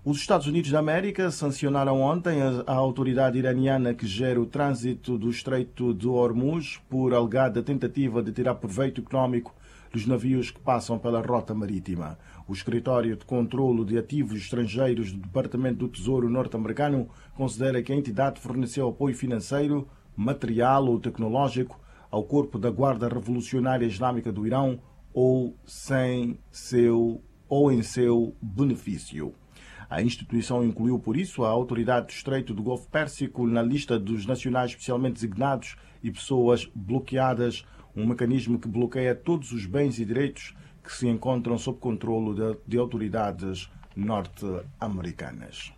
Os Estados Unidos da América sancionaram ontem a, a autoridade iraniana que gera o trânsito do Estreito de Hormuz por alegada tentativa de tirar proveito económico dos navios que passam pela rota marítima. O Escritório de Controlo de Ativos Estrangeiros do Departamento do Tesouro norte-americano considera que a entidade forneceu apoio financeiro, material ou tecnológico ao corpo da Guarda Revolucionária Islâmica do Irão ou sem seu, ou em seu benefício. A instituição incluiu, por isso, a autoridade do Estreito do Golfo Pérsico na lista dos nacionais especialmente designados e pessoas bloqueadas, um mecanismo que bloqueia todos os bens e direitos que se encontram sob controlo de, de autoridades norte-americanas.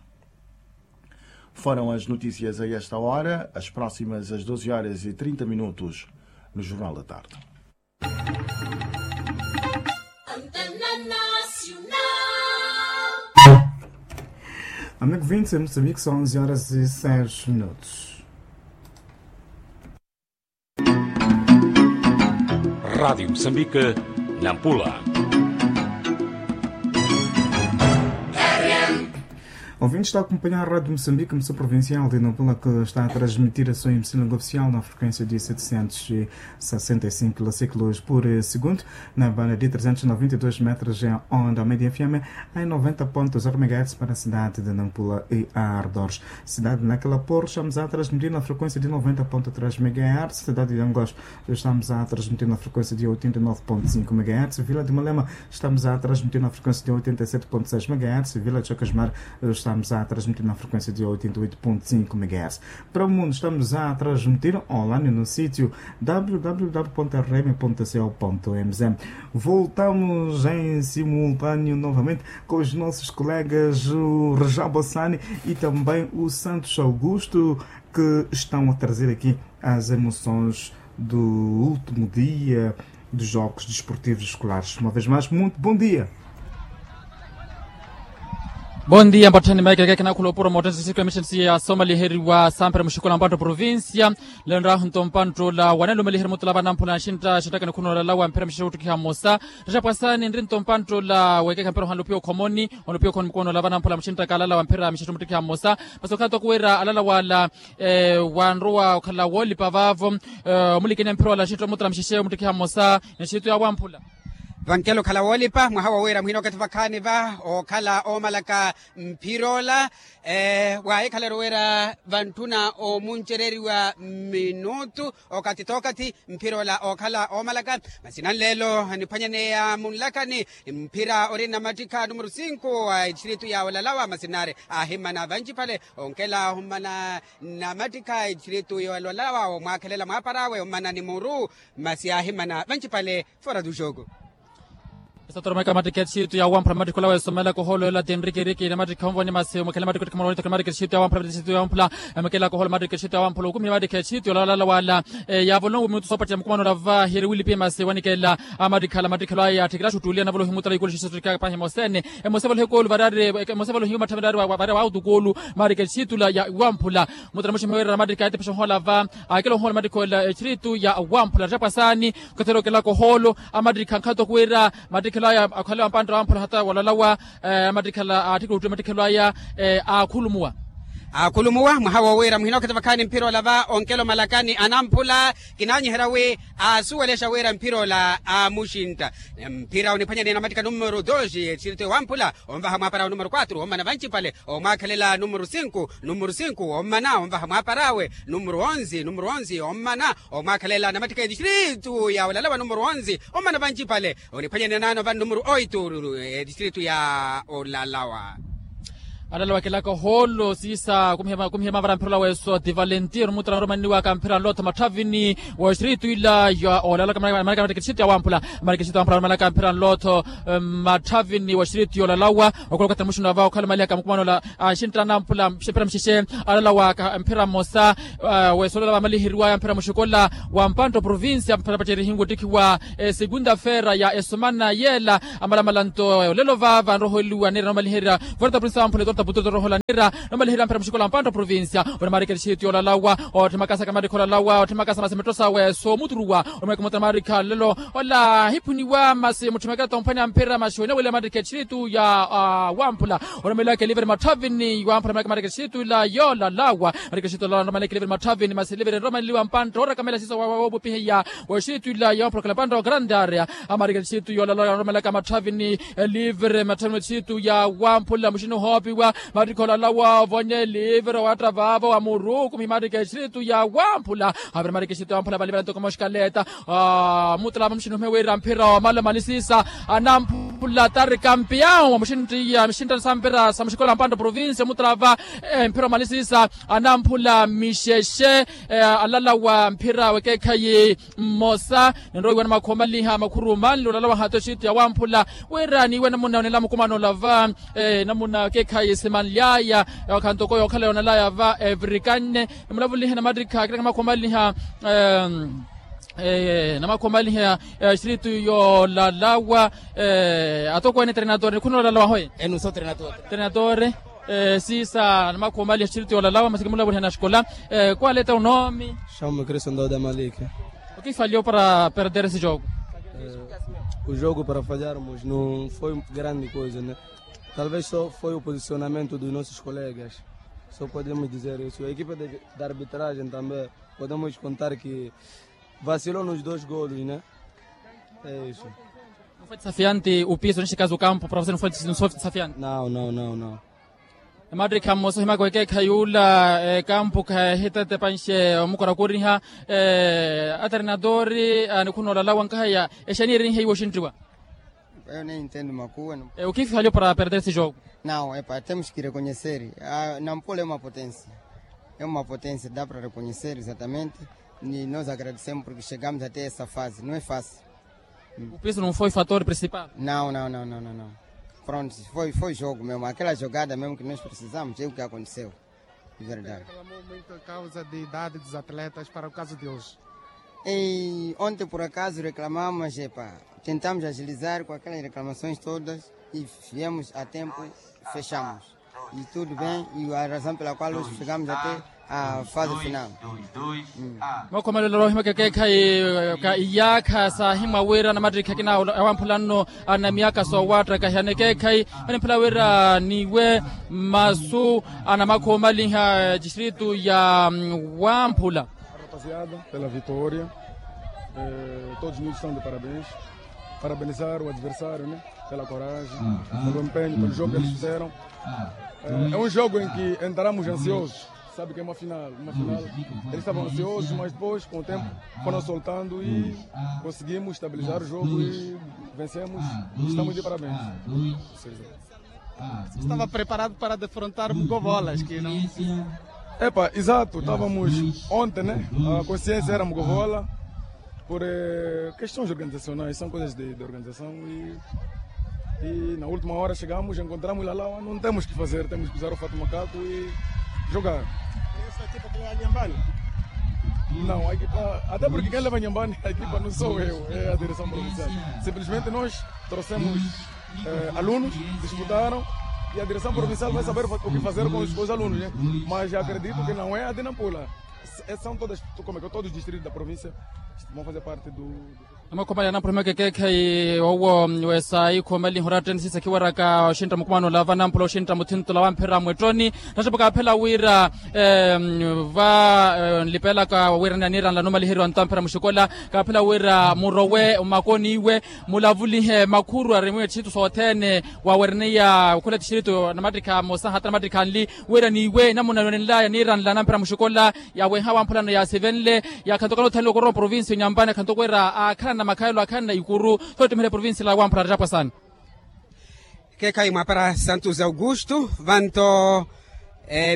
Foram as notícias a esta hora, as próximas às doze horas e trinta minutos no Jornal da Tarde. Amigo vinte, em Moçambique são onze horas e seis minutos. Rádio Moçambique, Nampula. Ouvintes, está a acompanhar a Rádio Moçambique, emissora provincial de Nampula, que está a transmitir a sua emissão oficial na frequência de setecentos e sessenta e cinco quilociclos por, eh, segundo, na banda de trezentos e noventa e dois metros em onda média F M, em noventa ponto zero megahertz para a cidade de Nampula e arredores. Cidade de Naquela Porra, estamos a transmitir na frequência de noventa ponto três megahertz. Cidade de Angola, estamos a transmitir na frequência de oitenta e nove ponto cinco megahertz. Vila de Malema, estamos a transmitir na frequência de oitenta e sete ponto seis megahertz. Vila de Chacasmar, estamos a transmitir na frequência de oitenta e oito ponto cinco megahertz. Para o mundo, estamos a transmitir online no sítio w w w ponto r m ponto c o ponto m z. Voltamos em simultâneo novamente com os nossos colegas, o Rajab Hassani e também o Santos Augusto, que estão a trazer aqui as emoções do último dia dos Jogos Desportivos Escolares. Uma vez mais, muito bom dia. Bom dia, mpatthani maikeke kinakhula opuro motense sikula emishensi ya somaliheriwa sampera muxikola mpatto provincia. Lelo nrahu nto mpatto la wanelumeliherya mutula vanamphula nxintta xinttaka nikhuno olalawa mphira mixexe wuttikiha mmosa. Rexapwasani nri nto mpatto la wekekha mpira ohanlupiwa okhomoni, ohanlupiwa okhomoni mukono ola vanamphula muxinttaka alalawa mphira mixexe muttikiha mmosa. Masi okhala toko wira alalawa ala wanrowa okhala woolipa vaavo. Omulikene mphira ola nxintta omutula mixexe muttikiha mmosa, nxintta yawamphula. Vankela okhala woolipa mwaha wa wira muhina okathi vakhaani va okhala oomalaka mphira ola. Waahikhala eri wira vantthuna oomuncereriwa minutu okathi t'okathi mphira ola ookhala oomalaka. Masi nanleelo niphwanyaneya munlakani mphira ori nnamattikha numero sinku a etistritu ya olalawa masi nari aahimana vanci phale onkela aahumana nnamattikha a etistritu ya olalawa omwaakhelela mwaapar'awe omana ni muru. Masi aahimana vanci phale fora du jogo. Esatoro maika matikhe etxitu ya wamphula matikhe olawa esomela kohoolo yola tinrikiriki na matikhe onvoni masi omwekela matikhe otikha moroonitho matikhe etxitu ya wamphula matikhe etxitu ya wamphula. Emekela kohoolo matikhe etxitu ya wamphula okumile matikhe etxitu yolala wala. Yavolowa omutu soopattela mukumano olava hiri wilipi masi wanikela. Amatikhala matikhe elo aya atthikela axuttuliya navolohi mutala yikulu xisoso tikapahi mosene. Emosevolohi ekulu varari. Emosevolohi matthami varari wa utukulu. Matikhe etxitu la ya wamphula. Mutala muximhe wira matikhe atepexa ohola va. Akela ohola matikhe ola etxitu ya wamphula attapwasani. Okathela okelaka ohoolo. Amatikha nkhato khuwira. Matikhelaya akhale wampantta wamphula hata walalawa. Matikhala atthikuluttwe matikhelaya. Akhulumuwa. Akhulumuwa mwaha wowira muhina okhetha vakhaani mphira olava onkelo malakani anamphula. Kinanyiherya wi asuwelexa wira mphira ola amuxintta. Mphira oniphwanyaniya na matikha numero dos etxiritwe wamphula. Onvaha mwaaparawe numero quatro ommana vancipale. Omwaakhalela numero cinco numero cinco ommana onvaha mwaaparawe. Numero onze numero onze ommana omwaakhalela na matikha etxiritwe ya olalawa numero onze. Ommana vancipale oniphwanyaniya naano vano numero oito. Etxiritwe ya olalawa. Alala wakelaka ohoolo siisa kumihema kumihema vara mphira ola weso ti valentino mutala oromanniwaka mphira nlotho matthavini. Wa oxiritu ila ya olalaka marikexiritu ya wamphula. Marikexiritu ya wamphula oromanaka mphira nlotho matthavini wa oxiritu ya olalawa. Okola okathi muxino ava okhala omalihaka mukumano ola anxintta anamphula mphira muxexe. Alala waka mphira mmosa. Weso olala vamaliheriwaya mphira muxikola wa mpantta oprovincia mphira pacerihini wottikhiwa. Segunda feira ya esomana yela. Amalamala nto olelo vava nroholiwa nira nomaliherya. Forta prinsa amphule torta puturto rohola nira nomaliherya mphira muxikola mpantta oprovincia. Ori marikeri xitu yolalawa otthimakasaka marikhi olalawa otthimakasa masi mitto sawe soomuturuwa. Omweke mutana marikhi alelo ola ahiphuniwa masi mutthimekela tomphwanya mphira masi wenewele marikhi exiritu ya wamphula. Oromelaka eliveri matthavini wamphula marikhi exiritu ila yolalawa. Marikhi exiritu yolalawa nromelaka eliveri matthavini masi eliveri nromeleliwa mpantta orakamela siso wawopupihiya. Wexitwila yoophulokela pantta okarantari. Amarikeli xitu yoolala nromelaka matthavini. Elivere matthavini xitu ya wamphula muxini ohoopiwa. Marikhi olalawa ovonye elivere owatta vaavo wa muruku mihi marikeli xitu ya wamphula. Avere marikeli xitu ya wamphula valivela ntoko moxikaleta. Mutala va muxini ohimewiira mphira omala omalisisa anamphula tari kampiyawu wa muxinttiyya mixinttana sa mphira sa muxikola mpantta provincia mutala va. Mphira omalisisa anamphula mixexe. Alala wa mphira wekeekhayi mmosa ninroiwa namakhoomaliha makhuru manli olala wahato exittu ya wamphula. Wira niiwe namuna onela mukumano olava namuna keekhayi simanlyaya. Khanto ko yookhala yoonelaya va evirikanne nimulavulihe namattikha akilaka namakhoomaliha namakhoomaliha exittu yoolalawa. Atokweene trenadore nikhuna olalawa hoye. Trenadore. Siisa namakhoomaliha exittu yoolalawa masi kimulavuliha na xikola. Kwaleta unoomi. Chamo-me Cristo Ndauda Maliki. O que falhou para perder esse jogo? O jogo para falharmos não foi grande coisa, né? Talvez só foi o posicionamento dos nossos colegas. Só podemos dizer isso. A equipa de, da arbitragem também, podemos contar que vacilou nos dois golos, né? É isso. Não foi desafiante o piso, neste caso o campo, para você não foi, não foi desafiante? Não, não, não, não. Emattikha mmosa ohimaka wekeekhayi ula ekampu khaahitetepanxe omukorakoriha. Atrenadori anikhuna olalawa nkahaya exaniirinhe iwo oxinttiwa. Eyo neyi ntendo makuwa. O que falhou para perder esse jogo? Não, epa temos que reconhecer. Nampula é uma potência. É uma potência dá para reconhecer exatamente. E nós agradecemos porque chegamos até essa fase não é fácil. O piso não foi fator principal? Não, não, não, não, não, não. Pronto, foi, foi jogo mesmo. Aquela jogada mesmo que nós precisamos, é o que aconteceu. De verdade. Reclamou muito a causa de idade dos atletas para o caso de hoje. E ontem, por acaso, reclamamos, epá, tentamos agilizar com aquelas reclamações todas e viemos a tempo, fechamos. E tudo bem, e a razão pela qual hoje chegamos até a fase final. Makhomalelo ohimaka ekeekhayi ka iyaakha saahimwa wira namattikhi akina awamphula nno ana miyaka soowattaka hiyana ekeekhayi. Manimphula wira niiwe masu anamakhoomaliha exittu ya wamphula. Rapaziada pela vitória. Todos muitos estão de parabéns. Parabenizar o adversário, né? Pela coragem, pelo empenho, pelo jogo que eles fizeram. É um jogo em que entramos ansiosos. Sabe que é uma final, uma final. Eles estavam ansiosos, mas depois, com o tempo, foram soltando e conseguimos estabilizar o jogo e vencemos. Estamos de parabéns. Estava preparado para defrontar Mugovolas, que não. Epa, exato, estávamos ontem, né? A consciência era Mugovola. Por questões organizacionais são coisas de organização. E na última hora chegamos encontramos lalawa não temos que fazer temos que usar o fato macaco e jogar. Não, a equipa até porque quem leva nhambani a equipa não sou eu, é a direção provincial. Simplesmente nós trouxemos alunos, disputaram e a direção provincial vai saber o que fazer com os alunos, mas acredito que não é a de nampula. São todas como é que todos os distritos da província vão fazer parte do. Amakhumalya anampula mekekekhe owo wesa ikhumeliho ratteni sisa khiwaraka oxintta mukumano lava nampula oxintta muthinto lawa mphira mwettoni. Nattapaka aphela wira va nlipelaka wira niranla numaliheriwa ntamphira muxikola. Kaphela wira murowe mmakoniwe mulavulihe makhuru arimiwe tthithu sothene. Wawereniya okhula tthithu namattikha mosa hata namattikha nli wira niwe namuna nwenenlaya niranla namphira muxikola. Yaweha wamphulano yasivenle yakhantukana othanle okorowa provincia onyampani akhantukwera akhanana makhayelo akhanana ikuru. Soottimihela provincia la wamphula rattapwasani. Kekhayi mwapara santos augusto vanto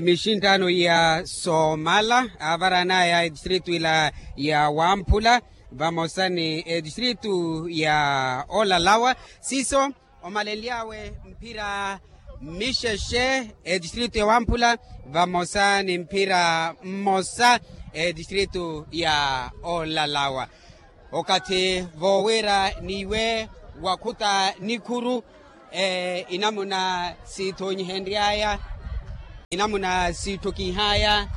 mixinttano ya somala avaranaya edistritu ila ya wamphula vamosa ni edistritu ya olalawa. Siso omalenly'awe mphira mixexe edistritu ya wamphula vamosa ni mphira mmosa edistritu ya olalawa. Okathi vowira niwe wakhuta nikhuru inamuna sithonyihenry'aya inamuna sitthukinh'aya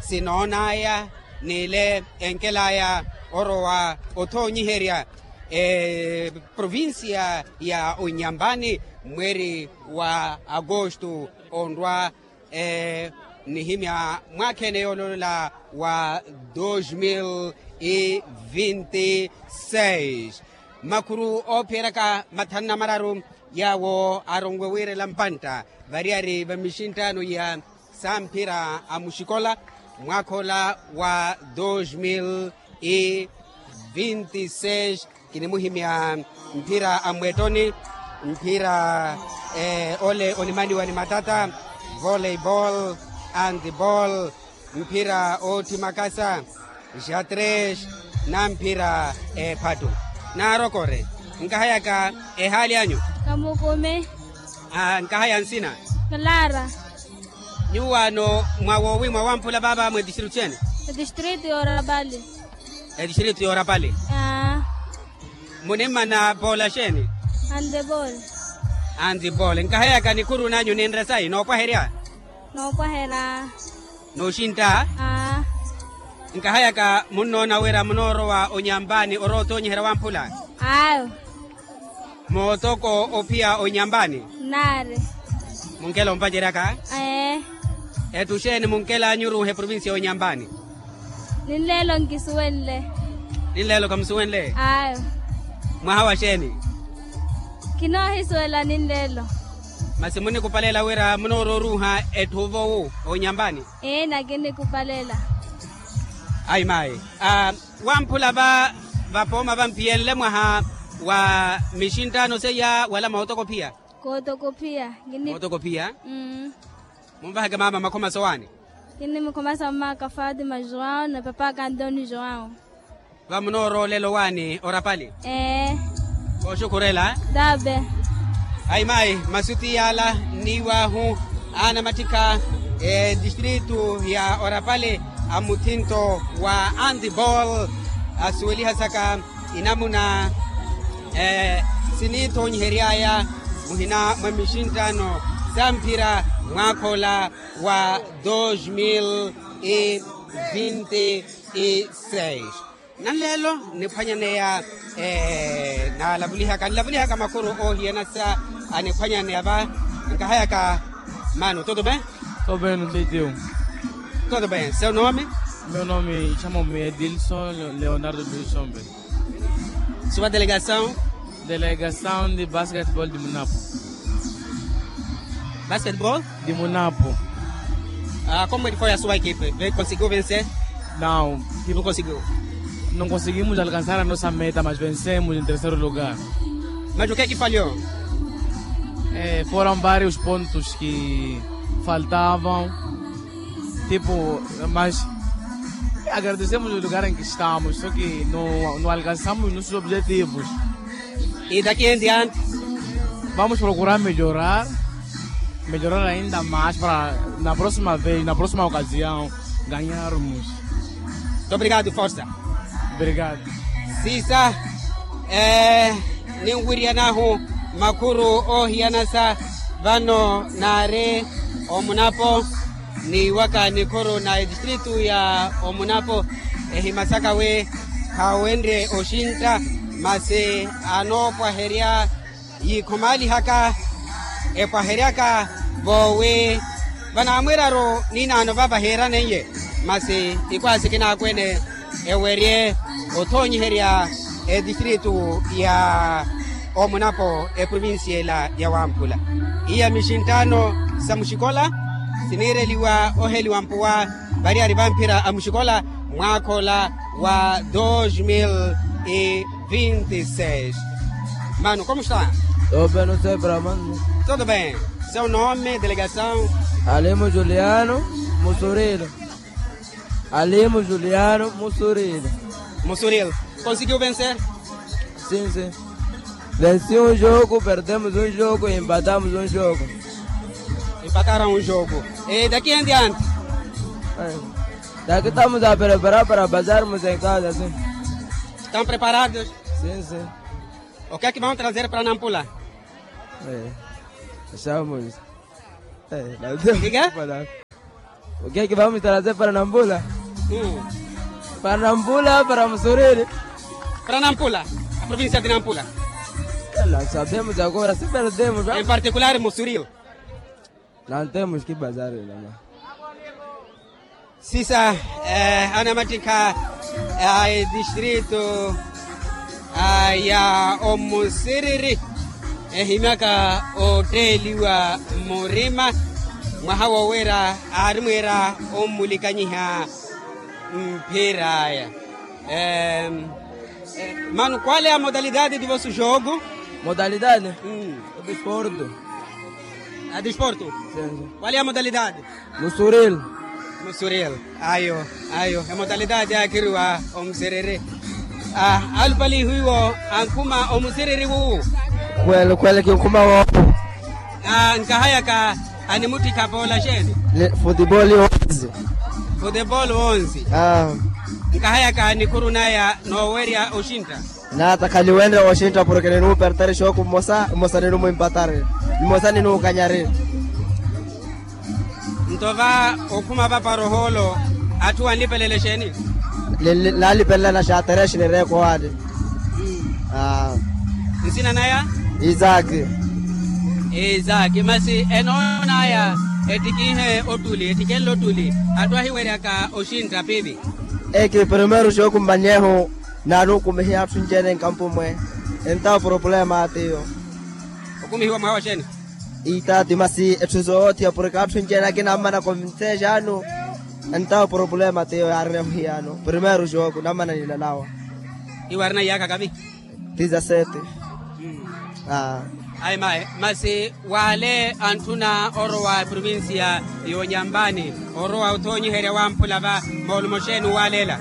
sinoon'aya n'ile enkel'aya orowa othonyiherya eprovincia ya onyambani mweeri wa agosto onrwa nihimya mwaakheene yoololela wa dos mil e vinti seis. Makhuru oophiyeryaka mathanu na mararu yaawo aronwe wiirela mpantta variyari va mixinttaano ya samphira a muxikola mwaakha ola wa dos mil e vinti seis. Kinimuhimya mphira a mmwettoni mphira ole onimaniwa ni matata volley ball and ball mphira ootthi makasa ja tres na mphira ephattu. Naarokore nkahayaka ehaali anyu. Kamukumi. Nkahaya nsina. Clara. Nyuwaano mwa woowi mwa wamphula vaava mwa etistritu xeeni? Etistritu yoorapali. Etistritu yoorapali. Munimmana poola xeeni? Handeball. Handeball nkahayaka nikhuru nanyu ninre sayi noopwaherya? Noopwaherya. Nooxintta. Nkahayaka munnoona wira munoorowa onyampani orowa otoonyiherya wamphula? Ayo. Mootoko ophiya onyampani? Nnaari. Munkela ompaceryaka? Ee. Etthu xeeni munkel'anyu oruuha eprovincia y'onyampani? Ninleelo nkisuwenle. Ninleelo khamusuwenle? Ayo. Mwaha wa xeeni? Khinoohisuwela ninleelo. Masi munikupalela wira munoorowa oruuha etthu ovowu onyampani? Ee nakinikupalela. Ayi mayi. Wamphula va vapooma vampiyenle mwaha wa mixinttaano seiya wala mootokophiya? Kootokophiya. Mootokophiya. Munvaheke maama makhoma sowaani? Kinnimukhomasa mmaaka fatima joão na papaaka antonio joão. Vamunooroolela owaani orapali? Ee. Kooxukhurela. Tabe. Ayi mayi masuti yaala nniiwaahu anamattikha etistritu ya orapali a muthinto wa antibol asuwelihasaka inamuna siniithoonyihery'aya muhina mwa mixinttaano sa mphira mwaakha ola wa dos mil e vinti e seis. Nanleelo niphwanyaneya naalavulihaka nilavulihaka makhuru oohiyanasa aniphwanyaneya va. Nkahayaka mano tudo bem? Tudo bem, não tem teu. Tudo bem, seu nome? Meu nome chama-me Edilson Leonardo Bilsombe. Sua delegação? Delegação de basquetebol de munapo. Basquetebol? De munapo. Como ele foi a sua equipe? Conseguiu vencer? Não. Não conseguiu? Não conseguimos alcançar a nossa meta mas vencemos em terceiro lugar. Mas o que é que falhou? Foram vários pontos que faltavam. Tipo mas Agradecemos o lugar em que estamos, só que não, não alcançamos nossos objetivos. E daqui em diante? Vamos procurar melhorar, melhorar ainda mais para na próxima vez, na próxima ocasião, ganharmos. Muito obrigado, força. Obrigado. Sisa, eh, ninwiriyanahu makhuru ohiyanasa vano nari omunapo. Ni waka nikhuru na edistritu ya omunapo ehimasaka wi khawenre oxintta, masi anoopwaherya yikhomaalihaka epwaheryaka voowi vanaamwiraru ninaano vava heeraneiye, masi ikwasi kinaakwene ewerye othoonyiherya edistritu ya omunapo eprovincia ela ya wamphula. Iya mixinttaano sa muxikola siniireliwa oheliwa mpuwa variyari vamphira a muxikola mwaakha ola wa dos mil e vinte e seis. Mano, como está? Todo bem, não sei para mano. Todo bem. Seu nome, delegação? Alimo Juliano Musurilo. Alimo Juliano Musurilo. Musurilo. Conseguiu vencer? Sim, sim. Venci um jogo, perdemos um jogo e empatamos um jogo. Empataram um jogo. E daqui em diante? Daqui estamos a preparar para passarmos em casa, sim. Estão preparados? Sim, sim. O que é que vão trazer para Nampula? É. Estamos. É, não. Diga? O que é que vamos trazer para Nampula? Hum. Para Nampula, para Musuriri. Para Nampula, a província de Nampula. Não sabemos agora, se perdemos, não? Em particular, Musuriri. Não temos que bazar, não. Sisa, eh, anamattikha a edistritu ya omusiriri ehimyaka otteeliwa murima mwaha wowira aarimwiira ommulikanyiha mphir'aya. Mano, qual é a modalidade de vosso jogo? Modalidade? Desporto. A desporto? Qual é a modalidade? Musuril. Musuril. Ayo, ayo emodalidade akhiriwa omusiriri. Alupali hiwo ankhuma omusiriri wuwu? Kwele kwele kinkhuma wowo. Nkahayaka animuttikha poola xeeni? Futebol onze. Futebol onze. Nkahayaka nikhuru naya noowerya oxintta? Nata khaliwenre oxintta porke ninuupertari xooku mmosa mmosa ninuumpatari. Mmosa ninuukanyari. Nto va okhuma vapara ohoolo atthu anlipelele xeeni? Nalipelelana xaaterexe nireeko waale. Nsina naya? Isaki. Isaki masi enoonaya ettikihe ottuli ettikenle ottuli atthu ahiweryaka oxintta piipi? Eki primeiro xooku mmanyeehu naanukumihiya atthu nci-ene nkampu mwe. Entawo problema atiyo. Okumihiwa mwaha wa xeeni? Itaati masi etthu soothiya porke atthu nci-ene akina ammana konvinseexaanu. Entawo problema atiyo yaarineehu hiyaano primeiro xooku nammana ninalawa. Iwo arina iyaakha kavi? Dizasete. Ayi mayi masi waale antthuna orowa eprovincia y'onyambani orowa othoonyiherya wamphula va moolumo xeeni owaaleela?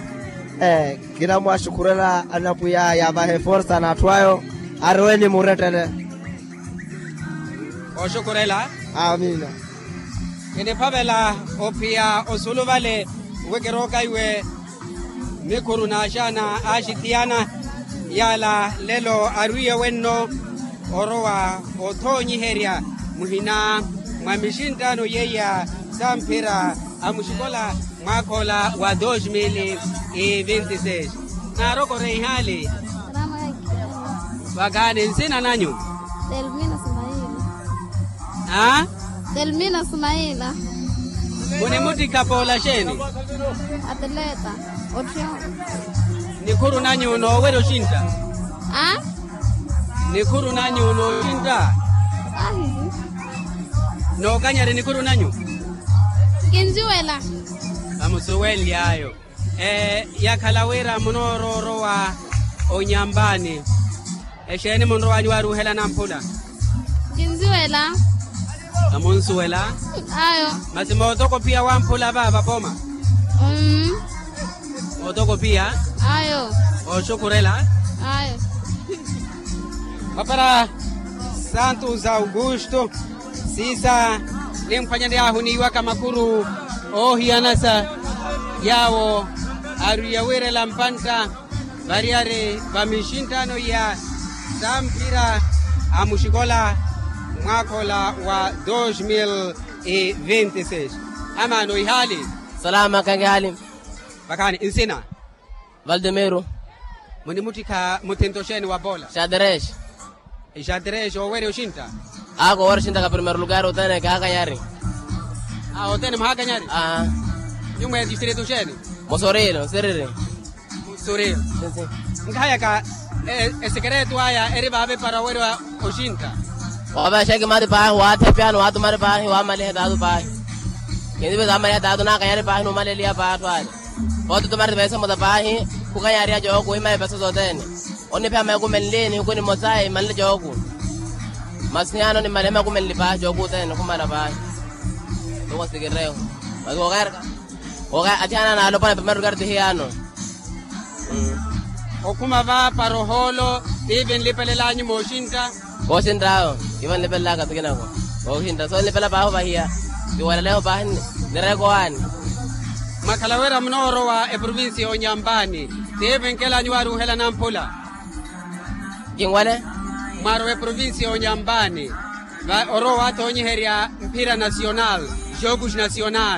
Ee kinamwaxukhurela anapwiya yaavahe forsa n'atthu ayo. Arowe nimurettele. Oxukhurela. Amina. Kiniphavela ophiya osulu vale wi kirooka iwe. Mikhuru n'axaana aaxithiyana yaala lelo arwiiye wenno orowa othoonyiherya muhina mwa mixinttaano yeiya samphira a muxikola mwaakha ola wa dos mil e vinte e seis. Naarokore ihaali. Vakaani nsina nanyu? Delmina sumaila. Aa? Delmina sumaila. Munimuttikha poola xeeni? Atleta. Otthiyo. Nikhuru nanyu noowerya oxintta? Aa? Nikhuru nanyu nooxintta? Ahihi. Nookanyari nikhuru nanyu? Kinjuwela. Vamusuwely'ayo. Yakhala wira munooroorowa onyambani. Exeeni munrow'anyu waaruuhela namphula? Kinsuwela. Amunsuwela? Ayo. Masi mootoko phiya wamphula va vapoma? Mmm. Otokopiya. Ayo. Oxukurela. Ayo. Papara santos augusto. Siisa nimphwanya ni ahuniiwaka makuru oohiyanasa yaawo ariya wiirela mpantta variyari va mixinttano iya sa mphira a muxikola mwaakha ola wa dos mil e vinte seis. Amaano ihaali. Salama kangihaali. Vakhaani nsina. Valdemiro. Munimuttikha muthinto xeeni wa pola? Xadrexe. Xadrexe owerya oxintta. Aka owerya oxintta ka primero lukari othene kaakanyari. Othene muhaakanyari. Nyumwa ya distrito xeeni? Musurilo nsiriri. Musurilo. Nkhayaka esekereto aya eri vaave para owerya oxintta. Wavexa ekimari paahi waathepyani waatumari paahi waamaliha etaatu paahi. Kindive zaamaliha etaatu naakanyari paahi nuumaleliha paahi atthu ale. Pooti otumari tiveexa muta paahi khukanyariha jooku ohimaya epesa sothene. Oniphiha maikumenli nihiku nimosa imanle jooku. Masi hiyano nimale maikumenli paahi jooku othene khumala paahi. Toko nsikireho. Masi kookaerka. Kooka athiana naalopwana pemari lukari tihiyano. Okhuma va para ohoolo. Tiivi nlipelelanyu mooxintta. Kooxinttawo. Ivo nlipelelaka tikinako. Kooxintta so nlipela paahi ovahiya. Tiwalaleho paahi. Nirekowaani. Mwakhala wira munoorowa eprovincia y'onyampaani. Tiivi nkelanyu waaruuhela namphula. Kinwale. Mwarowa eprovincia y'onyampaani. Orowa waathonyiherya mphira nacional. Jogos nacional.